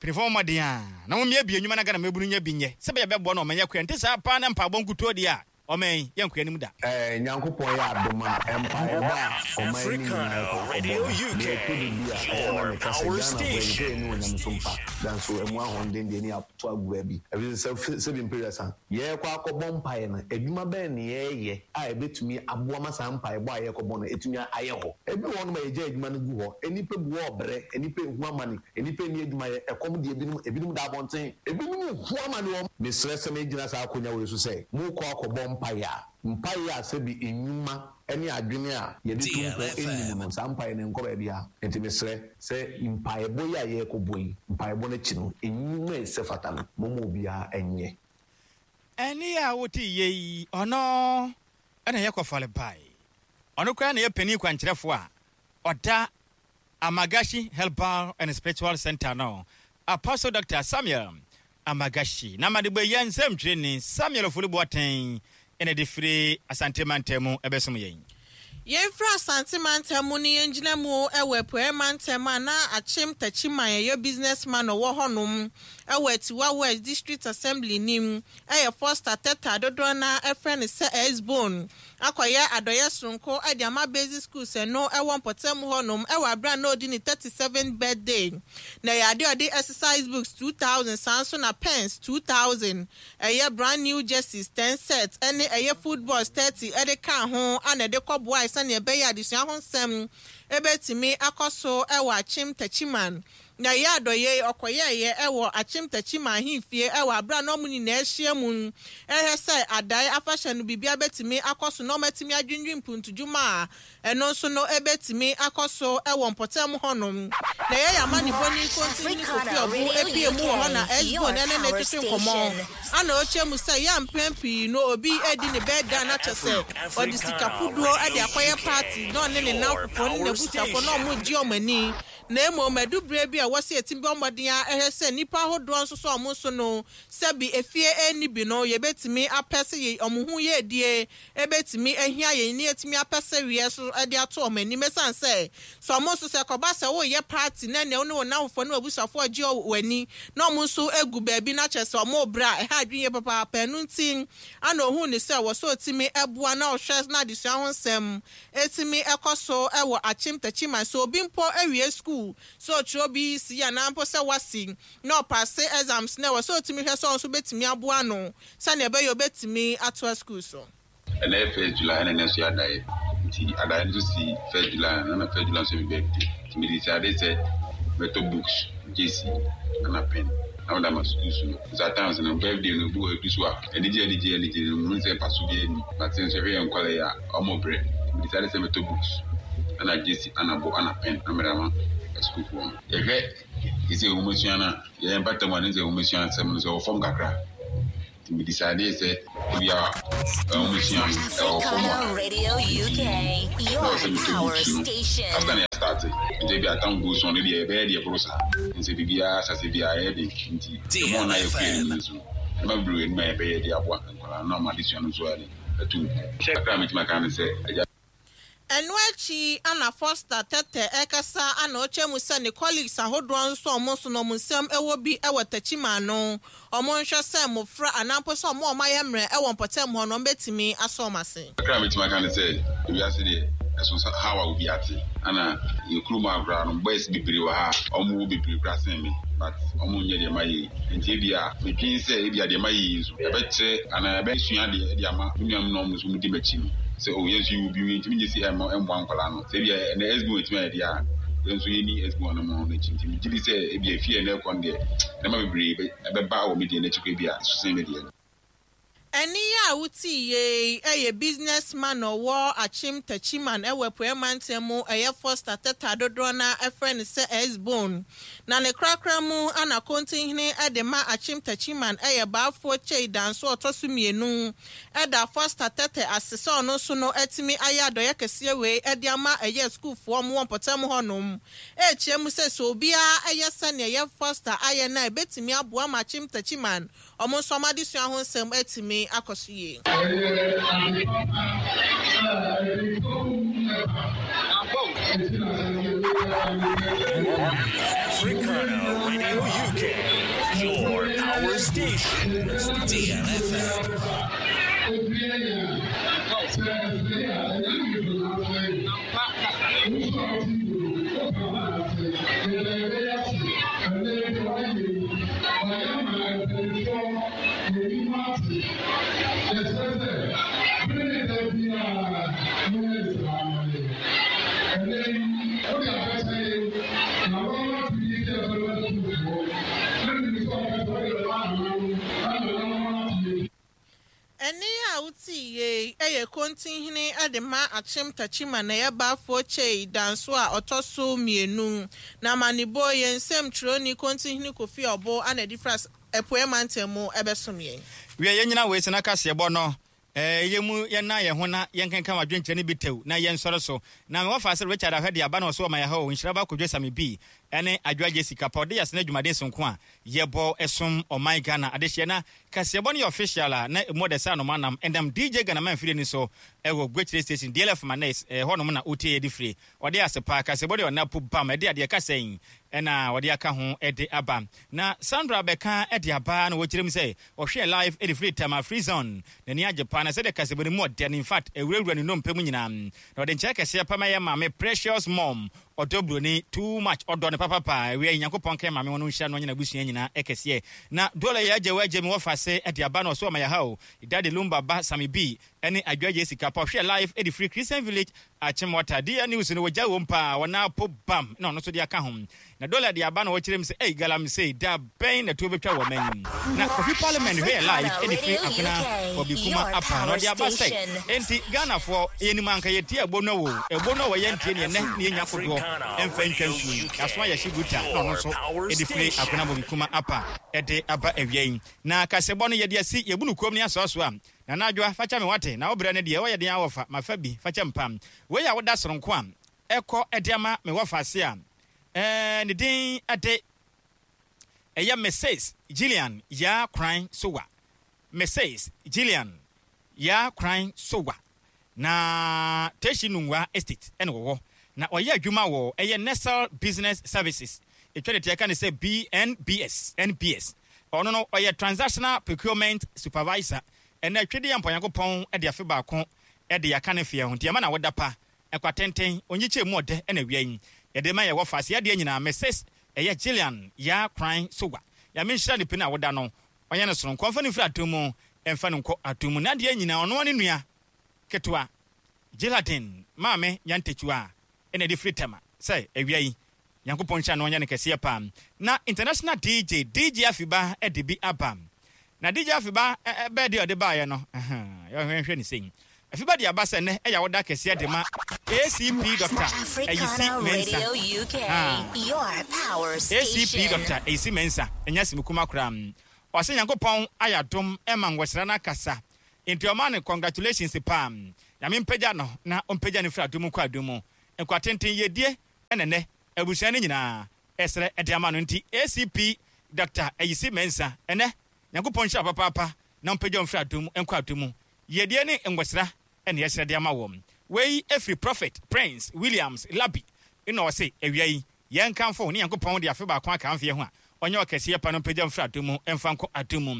Mpanimfoɔ, mmɔden a na mommea bi nnwuma na Ghana mmabunu nyɛ bi nyɛ sɛ bɛyɛ bɛboa no ɔmanyɛ koa. Nte saa paa na mpaebɔ nkutuo deɛ a, ɔman yi yɛnkɔ anim da. ɛɛ Nyankopɔn yɛ adom a, mpaebɔ a ɔman no nyinaa kɔ akɔbɔ no deɛ, ɛtɔ de bi a ɛyɛ na meka sɛ Ghana fo yɛn yɛn ne onyame so mpa, nanso ɛmu ahoɔden deɛ ne ato agu baabi, ɛfiri sɛ sɛbi mpere yɛrekɔ akɔbɔ mpaeɛ no, adwuma bɛn ne yɛreyɛ a ɛbɛtumi aboa ma saa mpaebɔ a yɛrekɔbɔ no ɛtumi ayɛ hɔ? Ebi wɔ hɔnom a yɛgya adwuma no gu hɔ, nnipa gu hɔ ɔbrɛ, nnipa ehu amane, nnipa nni adwumayɛ, ɛkɔm deɛ ebinom, ebinom da abɔnten, ebinom hu amane wɔ. Mesrɛ sɛ megyina saa akonnwa wei so sɛ mokɔ akɔbɔ mpaeɛ a, mpaeɛ a sɛbi nnwuma ne adwene a yɛde to mpɔ anim no, saa mpaeɛ no nkɔ baabi a. Nti mesrɛ sɛ mpaebɔ yi a yɛrekɔbɔ yi, mpaebɔ no akyi no, nnwuma a ɛsɛ fata no, momma obiara nyɛ. Ɛne a wote yie yi, ɔno ɛna yɛkɔ fɔle bae. Ɔno koraa na yɛ panin kwankyerɛfoɔ a ɔda Amagashi Herbal and Spiritual Center no, Apostle Doctor Samuel Amagashi. Na made bɔ yɛ nsɛmtwerɛni Samuel Ofori Boateng ɛna de firi Asante mantam mu ɛbɛsom yɛn. Yɛmfiri Asante mantam mu ne yɛngyina mu wɔ Apueɛ mantam a na Akyem Takyiman ɛyɛ businessman ɔwɔ hɔnom ɛwɔ Atiwa West District Assembly nim, ɛyɛ Foster Teta, dodoɔ na ɛfrɛ no sɛ Esbon, akɔyɛ adɔyɛ soronko ɛde ama basic schools ɛno ɛwɔ mpɔtam hɔnom ɛwɔ abira na ɔdi ne thirty seven birthday. Na ɛyɛ adeɛ ɔde exercise books two thousand, saa nso na pens two thousand, ɛyɛ brand new jerseys ten sets, ɛne ɛyɛ footballs thirty ɛde ka ho ana ɛde kɔboa sɛnea ɛbɛyɛ adesua ho nsɛm ɛbɛtumi akɔ so ɛwɔ Akyem Takyiman. Na ɛyɛ adɔyɛ yi ɔkɔyɛɛyɛ ɛwɔ Akyem Techiman ahemfie ɛwɔ abere a na ɔmo nyinaa ahyia mu ɛhwɛ sɛ adae afahyɛ no biribia bɛtumi akɔ so na ɔmo atumi adwindwin mpuntudwuma a ɛno nso no ɛbɛtumi akɔ so ɛwɔ mpɔtam hɔnom. Na ɛyɛ yɛ amanebɔni Kontihene Kofi Ɔbo epie mu wɔ hɔ na S-Bone ɛne ne twetwe nkɔmmɔ ana ɔkyerɛ mu sɛ yɛ mpɛn pii no obi edi ne birthday na kyɛ sɛ ɔde sika kodoɔ ɛde akɔyɛ party na ɔne ne namfofoɔ ne n'abusuafoɔ na ɔmo gye ɔmo ani, na mmom adubere bi a wɔsi eti bɔ mmɔden a ɛhwɛ sɛ nnipa ahodoɔ nso so ɔmo nso no sɛbi efie ɛni bi no yɛbɛtumi apɛ sɛ yɛ ɔmo ho yɛ edie ebɛtumi ehia yɛn ni etumi apɛ sɛ wiɛ so ɛde ato ɔmo anim, esan sɛ sɛ ɔmo nso sɛ kɔba sɛ wɔyɛ party na nea ɔne wɔn namfofoɔ ne abusuafoɔ gye wɔn ani na ɔmo nso egu baabi na kyerɛ sɛ ɔmo bra ɛha adwene yɛ papaapa. Ɛno nti ana ohun ne sɛ wɔsɔ otimi ɛboa na ɔhwɛ na adesua ho nsɛm etimi ɛkɔ so ɛwɔ Akyem Techiman, so obi mpo awie school sɛ ɔtwerɛ bi si anaa mpo sɛ wasi na ɔpass exams na ɛwɔ sɛ otimi hwɛ sɛ ɔno nso bɛtumi aboa no sɛnea ɛbɛyɛ obɛtumi atoa school so. Ɛnɛ yɛ first July, ɛna ɛnɛ nso yɛ adaeɛ, nti adaeɛ no nso si first July na na first July nso yɛ mi birthday, nti mede si ade sɛ mɛtɔ books, jersey ɛna pen na mede ama schools no. Nso at times no, birthday no bi wɔ ebi so a anigye anigye anigye no mu sɛ mfaso bi ani, but nso ɛhwɛ yɛn nkɔla yi a ɔmo brɛ, mede si ade sɛ mɛtɔ books ɛna jersey ɛna bo ɛna pen na mede ama sukuufoɔ no. Yɛhwɛ ɛsɛ nwomasua no a yɛyɛ mpata mu a ne sɛ nwomasua nsɛm no sɛ ɛwɔ fam kakra, nti mede si adeɛ sɛ ebi a nwomasua no ɛwɔ fam a Africana Radio U K, your na ɔsɛ metɔ power books no station. After na yɛstart, nti ebi atam goes on deɛ ɛbɛyɛ deɛ boro saa nti biribiara asase bi a ɛyɛ den, nti ɛmɔ na yɛ kue no nso ɛma bebree anim a yɛbɛyɛ de aboa nkwadaa no ama adesua no nso ayɛ den atu mpɔn kakra a metumi aka ne sɛ agya. Ɛno akyi ana Foster Tɛtɛ ɛkasa ana ɔkyerɛ mu sɛ ne colleagues ahodoɔ nso ɔmo nso no ɔmo nsɛm ɛwɔ bi ɛwɔ Techiman no ɔmo nhwɛ sɛ mmɔfra anaa mpo sɛ ɔmo a ɔmo ayɛ mmerɛ ɛwɔ mpɔtam hɔ no ɔmo bɛtumi asɔ ɔmo ase. Kakra a metumi aka ne sɛ ewiase deɛ ɛso sɛ how a obi ate ana yɛ kurom akora no, boys bebree wɔ ha a ɔmo wɔ bebree kora sen me, but ɔmo nyɛ deɛ ma yɛ yi, nti ebi a medwen sɛ ebi a deɛ ma yɛ yi nso ɛbɛkyerɛ anaa ɛbɛsua deɛ ɛde ama me nuanom na ɔmo nso mo di m'akyi no sɛ o yɛn nso yɛwɔ bi, yɛntumi nyɛ si ɛmɔ ɛmmoa nkwadaa no sɛ ebi a ɛnɛ S B ɛtumi ayɛ deɛ a yɛn nso yɛni S B no mo n'akyi, nti megye di sɛ ebi a efie ɛnɛ ɛkɔ no deɛ nneɛma bebree bɛ- ɛbɛba wɔ me deɛ n'akyi kɔ ebi a ɛso sen me deɛ no. Ɛne yɛ a wotii yei ɛyɛ businessman a ɔwɔ Akyem Techiman ɛwɔ Apueɛ Mantam mu, ɛyɛ Foster Tɛtɛ dodoɔ na ɛfrɛ no sɛ S-Bone. Na ne korakora mu ana Kontinhene ɛde ma Akyem Techiman ɛyɛ Baafoɔ Kyei Danso ɔtɔ so mmienu ɛda Foster Tɛtɛ ase sɛ ɔno nso no ɛtumi ayɛ adɔyɛ kɛseɛ wei ɛde ama ɛyɛ sukuufoɔ mo wɔ mpɔtam hɔnom, ɛɛkyerɛ mu sɛ sɛ obiara ɛyɛ sɛnea ɛyɛ Foster ayɛ no a ɛbɛtumi aboa ma Akyem Techiman ɔmo nso ɔmo adesua ho nsɛm atumi akɔ so yie. Ɛyɛ ade papa a ɛde kɔn ɛba eti na sɛ Africana Radio U K, your power station. D M F M. Obi anya sɛ ɛsɛ a ɛnyɛ ne do n'asɛ nso a ɔte do ɔka ho n'asɛ yɛda yɛbɛyɛ ase ɛnɛ deɛ wayɛ yi wayɛ ma mpanyinfoɔ yɛnim ate yɛsrɛ sɛ bere ne da biara monyɛ ne saa ama yɛ ɛnɛ yi wode abɛkyɛ yɛ na wɔn ato yi sɛ ɛbɛma sukuufoɔ na nim sɛ ɔka sɛ wode bɛma ananom na nananom ate yɛ. Ɛne a wotii yei ɛyɛ Kontinhene ɛde ma Akyem Techiman na ɛyɛ Baafoɔ Kyei Danso a ɔtɔ so mmienu. Na amanebɔ yɛn nsɛm twerɛni Kontinhene Kofi Ɔbo ana ɛde fra Apueɛ Mantam mu ɛbɛsom yɛn. Wie yɛn nyina wei sɛ na kaseɛbɔ no ɛɛ yɛ mu yɛna yɛn ho na yɛnkenka wadwenkyerɛ no bi tɛw na yɛnsɔre so na mewɔfa sɛ Richard Ahwɛ de aba na ɔso ɔma yɛha o nhyira ba Kodwo Same bi ɛne Adwoa Jessica pa ɔde yɛsene adwumaden sonko a yɛbɔ ɛsom ɔman Ghana adehyeɛ na kaseɛbɔ no yɛ official a na ɛmu ɔdɛ sɛ anoma nam ɛnam D J Ghana man firi ni so ɛwɔ Gwekyire station D L F Manes ɛhɔnom na wotie yɛde firi ɔde ase paa. Kaseɛbɔ deɛ ɔna po bam ɛde adeɛ kasa yi ɛna wɔde aka ho ɛde aba na Sandra bɛka ɛde aba na wɔkyerɛ mu sɛ ɔhwɛ live ɛde firi Tama Free Zone, n'ani agye paa na sɛdeɛ kaseɛbɔ no mu ɔdɛ no, in fact ɛwurawura ne nnompe mu nyinaa, na ɔde nkyɛn kɛseɛ pama yɛ maame Precious Mom ɔdɔ buroni too much ɔdɔ no. papapa awia Nyankopɔn kɛ maame wɔn nhyira no nyina abusua nyinaa ɛkɛseɛ na dɔla yɛ agye wagye me wɔfa se ɛde aba no ɔso ɔma yɛ ha o Daddy Lumba ba Sami B ɛne adwagye sika pa hwɛ live ɛde free Christian Village Achimota D N News no wɔgya wɔm paa wɔna apo bam na ɔno nso de aka ho na dɔla de aba na wɔkyerɛ m sɛ ei galamsey da bɛn na tuo bɛtwa wɔ man na Kofi Parliament hwɛ live ɛde free akona Obi Kuma apa na ɔde aba sɛ enti Ghanafoɔ yɛnim anka yɛtie ɛbo no wo ɛbo no wɔ yɛntie ne ɛnɛ ne yɛnya kodoɔ ɛmfa ntwa nsuo yɛaso ayɛ hye guta na ɔno nso ɛde firi akona Obi Kuma apa ɛde aba awia yi na kasɛbɔ no yɛde asi yɛbu no kurom ne asoaso a na nadwoa fakyɛ me wate na wobrɛ no deɛ wɔyɛ den awɔfa mafa bi fakyɛ mpam wei a woda soronko a ɛkɔ ɛde ama me wɔfa ase a ɛɛ ne din ɛde ɛyɛ Missus Gillian Ya Kran Sowa Missus Gillian Ya Kran Sowa na Teshi Nungwa Estate ɛna wɔwɔ na ɔyɛ adwuma wɔ ɛyɛ Nestle Business Services etwa de tiaka ne sɛ B N B S N B S ɔno no ɔyɛ Transactional Procurement Supervisor ɛna twede ampanyankopɔn ɛde afe baako ɛde yaka ne fie ho nti ɛma na wɔda pa ɛkwatenten onyikyɛ mu ɔdɛ ɛna wia yi yɛde ma yɛwɔ fa se adeɛ nyinaa Missus ɛyɛ Gillian Ya Kran Sowa ya menhyira ne pina woda no ɔyɛ no soronko mfa ne mfiri atom mu ɛmfa no nkɔ atom mu na adeɛ nyinaa ɔno ne nua ketewa Gilladin maame nyantetua ɛna de firi Tema sɛ awia yi Nyankopɔn nhyira no ɔnyɛ ne kɛseɛ paa na international D J D J Afiba ɛde bi aba na D J Afiba ɛbɛɛ de ɔde baeɛ no yɛhwɛ ne sɛn Afiba de aba sɛ nɛ ɛyɛ woda kɛseɛ de ma A C P Doctor Ayisi Mensa A C P Doctor Ayisi Mensa ɛnyɛ simukuma koraa ɔsɛ Nyankopɔn ayadom ɛma nwɔsra no akasa nti ɔma no congratulations paa Nyame mpagya no na ɔmpagya no firi adom kɔ adom mu nkwatenten yɛdie ɛnɛ nɛ abusua no nyinaa ɛsrɛ ɛde ama no nti A C P Doctor Ayisi Mensa ɛnɛ Nyankopɔn nhyira papaapa na ɔmpagya mfiri adom nkɔ adom mu yɛdie ne nwɔsra ɛne ɛsrɛ de ama wɔm wei ɛfiri Prophet Prince Williams Labi ɛna ɔse awia yi yɛnkamfo ne Nyankopɔn de afe baako aka mfeɛ ho a ɔnyɛ ɔkɛseɛ pa no mpagya mfiri adom mu ɛmfa nkɔ adom mu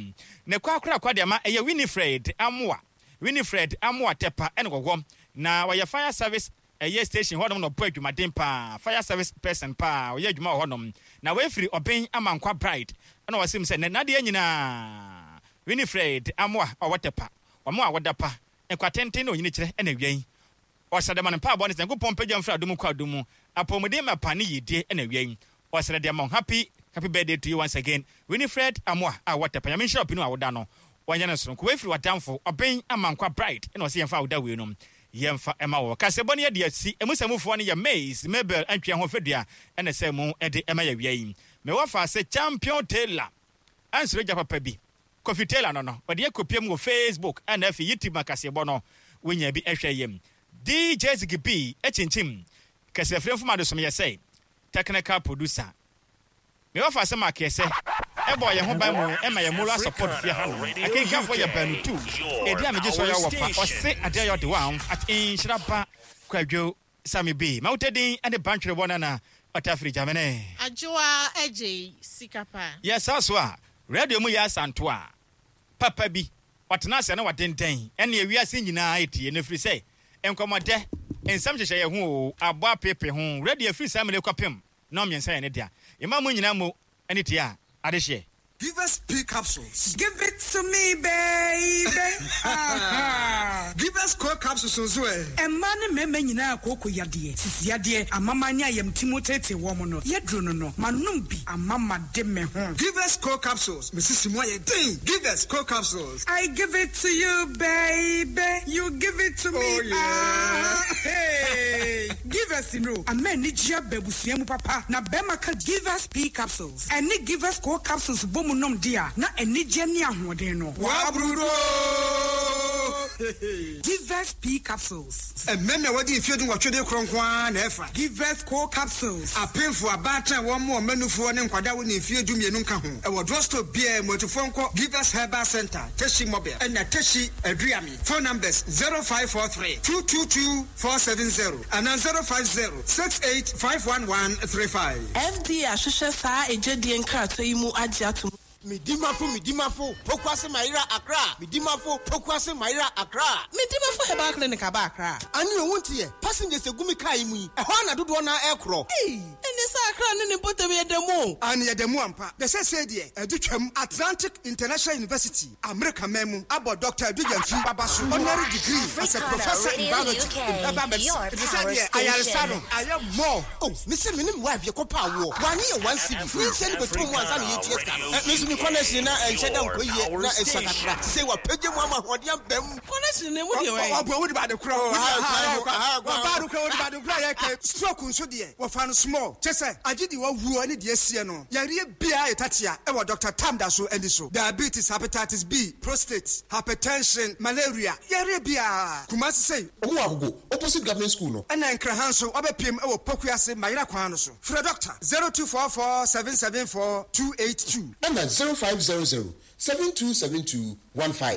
ne kɔ akora kwa de ama ɛyɛ Winifred Amoa Winifred Amoa Tepa ɛne wɔwɔ na wɔyɛ fire service ɛyɛ station hɔnom na ɔbɔ adwumaden paa fire service person paa ɔyɛ adwuma wɔ hɔnom na wɔafiri ɔbɛn Amankwa Bride ɛna wɔsim sɛ nadeɛ nyinaa Winifred Amoa ɔwɔ Tepa ɔmo a wɔda pa nkwatenten na onyini kyerɛ ɛna awia yi ɔsrɛ de ma no mpaabɔ ne sɛ Nyankopɔn mpagya mfiri adom kɔ adom mu apɔmuden mapa ne yidie ɛna awia yi ɔsrɛ de ama happy happy birthday to you once again Winifred Amoa a wɔwɔ Tepa Nyame nhyira ɔpinu a woda no wɔnyɛ no soronko wɔafiri wadamfo ɔbɛn Amankwa Bride ɛna ɔsɛ yɛmfa awoda wei no yɛmfa ɛma wɔ kasɛbɔ ne yɛde asi emu sɛmufoɔ no yɛ Maze Mabel antwea ho fɛdua ɛna sɛ mu ɛde ɛma yɛ wia yi mewɔ fa sɛ Champion Taylor ansoro gya papa bi Kofi Taylor no no ɔde akɔpiem wɔ Facebook ɛna afei YouTube makasɛbɔ no wonya bi ɛhwɛ yam D J Ziggy B ɛkyinkyim kɛsɛfrɛ mfom adesom yɛ sɛ technical producer mewɔ fa sɛ makɛsɛ ɛbɔ yɛn ho ban mu ɛma yɛn moral support fie ha no akenkanfoɔ yɛ baanu tu ɛdi a megye so yɛ wɔ fa ɔse adeɛ yɛ ɔde wɔn at nhyira ba kwadwo Sami B ma wotɛ ɛne bantwere bɔ nana ɔtafiri gyamene adwoa agye sika pa yɛ saa so a radio mu yɛ asanto a papa bi ɔtena ase na wadenden ɛne ewiase nyinaa etie na firi sɛ nkɔmɔdɛ nsɛm hyehyɛ yɛ ho o abɔ apepe ho radio firi saa mele kɔpem na ɔmmiɛnsa yɛ ne dea ɛma mu nyinaa mo ɛne tie a adehyeɛ. Give us P capsules. Give it to me, baby. Give us Co capsules, so eh. Emma ne meme nyina akoko yade. Sisi yade, amama nya yam timotete wo mo no. Yedru no no. Manum bi amama de me ho. Give us Co capsules. Missus Moye ding. Give us Co capsules. I give it to you, baby. You give it to me. Oh yeah. Ah, hey. Give us no. Amen ni jia bebusia mu papa. Na bema ka give us P capsules. Eni give us Co capsules bomu nom dia na enije ni ahoden no. Wa brudo. Give us P capsules. Ememe wadi mfie du nwɔtwe de kronkron a na ɛfa. Give us Co capsules. Apemfo abatan wɔn mo ɔmanufo ne nkwada wo ne mfie du mmienu nka ho. Ɛwɔ drugstore bia motofo nkɔ Give us Herbal Center, Teshi Mobile, ɛna Teshi Aduami. Phone numbers zero five four three two two two four seven zero and zero five zero six eight five one one three five. F D A hwehwɛ saa ejedi nkrato yi mu agye atom. Midimafo, Midimafo, Pokuase Maira Accra. Midimafo, Pokuase Maira Accra. Midimafo Herbal Clinic aba Accra. Ani owuntie, passengers egumi kai mu yi. Eho na dodo na ekro. Ei, Ɛne sɛ Accra ne ne mpɔtam yɛ da mu o. Ane yɛda mu ampa. Na sɛsei deɛ ɛde twam Atlantic International University, Amerika man mu, abɔ Doctor Adu Gyamfi aba so honorary degree as a Africana professor in Radio biology U K, in herbal medicine. your Ɛfiri sɛ power deɛ ayaresa no station. ayɛ more. Oh, me se me ne me wife yɛkɔ pa awoɔ. Wanye yɛ one cedi. Ne nsia ne bɛtɔ mu ansa na yɛtua sika no. Eh, me nso me connection na ɛnhyɛ da nkɔ yie na ɛsua kakra. Te sɛ wapagya mu ama ahoɔden aba mu. Connection na emu deɛ wɔyɛ. Ɔ- ɔ- ɔboa wode baade korɔ. Oh, aha, aha, aha, aha. Ɔbaade korɔ, wode baade korɔ a yɛka. Stroke nso deɛ, wɔfa no small. Kyɛ sɛ, agye deɛ wawuo ne deɛ asie no. Yareɛ biara yɛ tatea ɛwɔ Doctor Tam da so ani so. Diabetes, hepatitis B, prostate, hypertension, malaria, yareɛ biara. Kumasi sei. Ɔmo wɔ Agogo, opposite government school no. Ɛna Nkraha nso, wabɛpiem ɛwɔ Pokuase, Mayera kwan no so. Frɛ doctor zero two four four seven seven four two eight two. Ɛna zero five zero zero seven two seven two one five.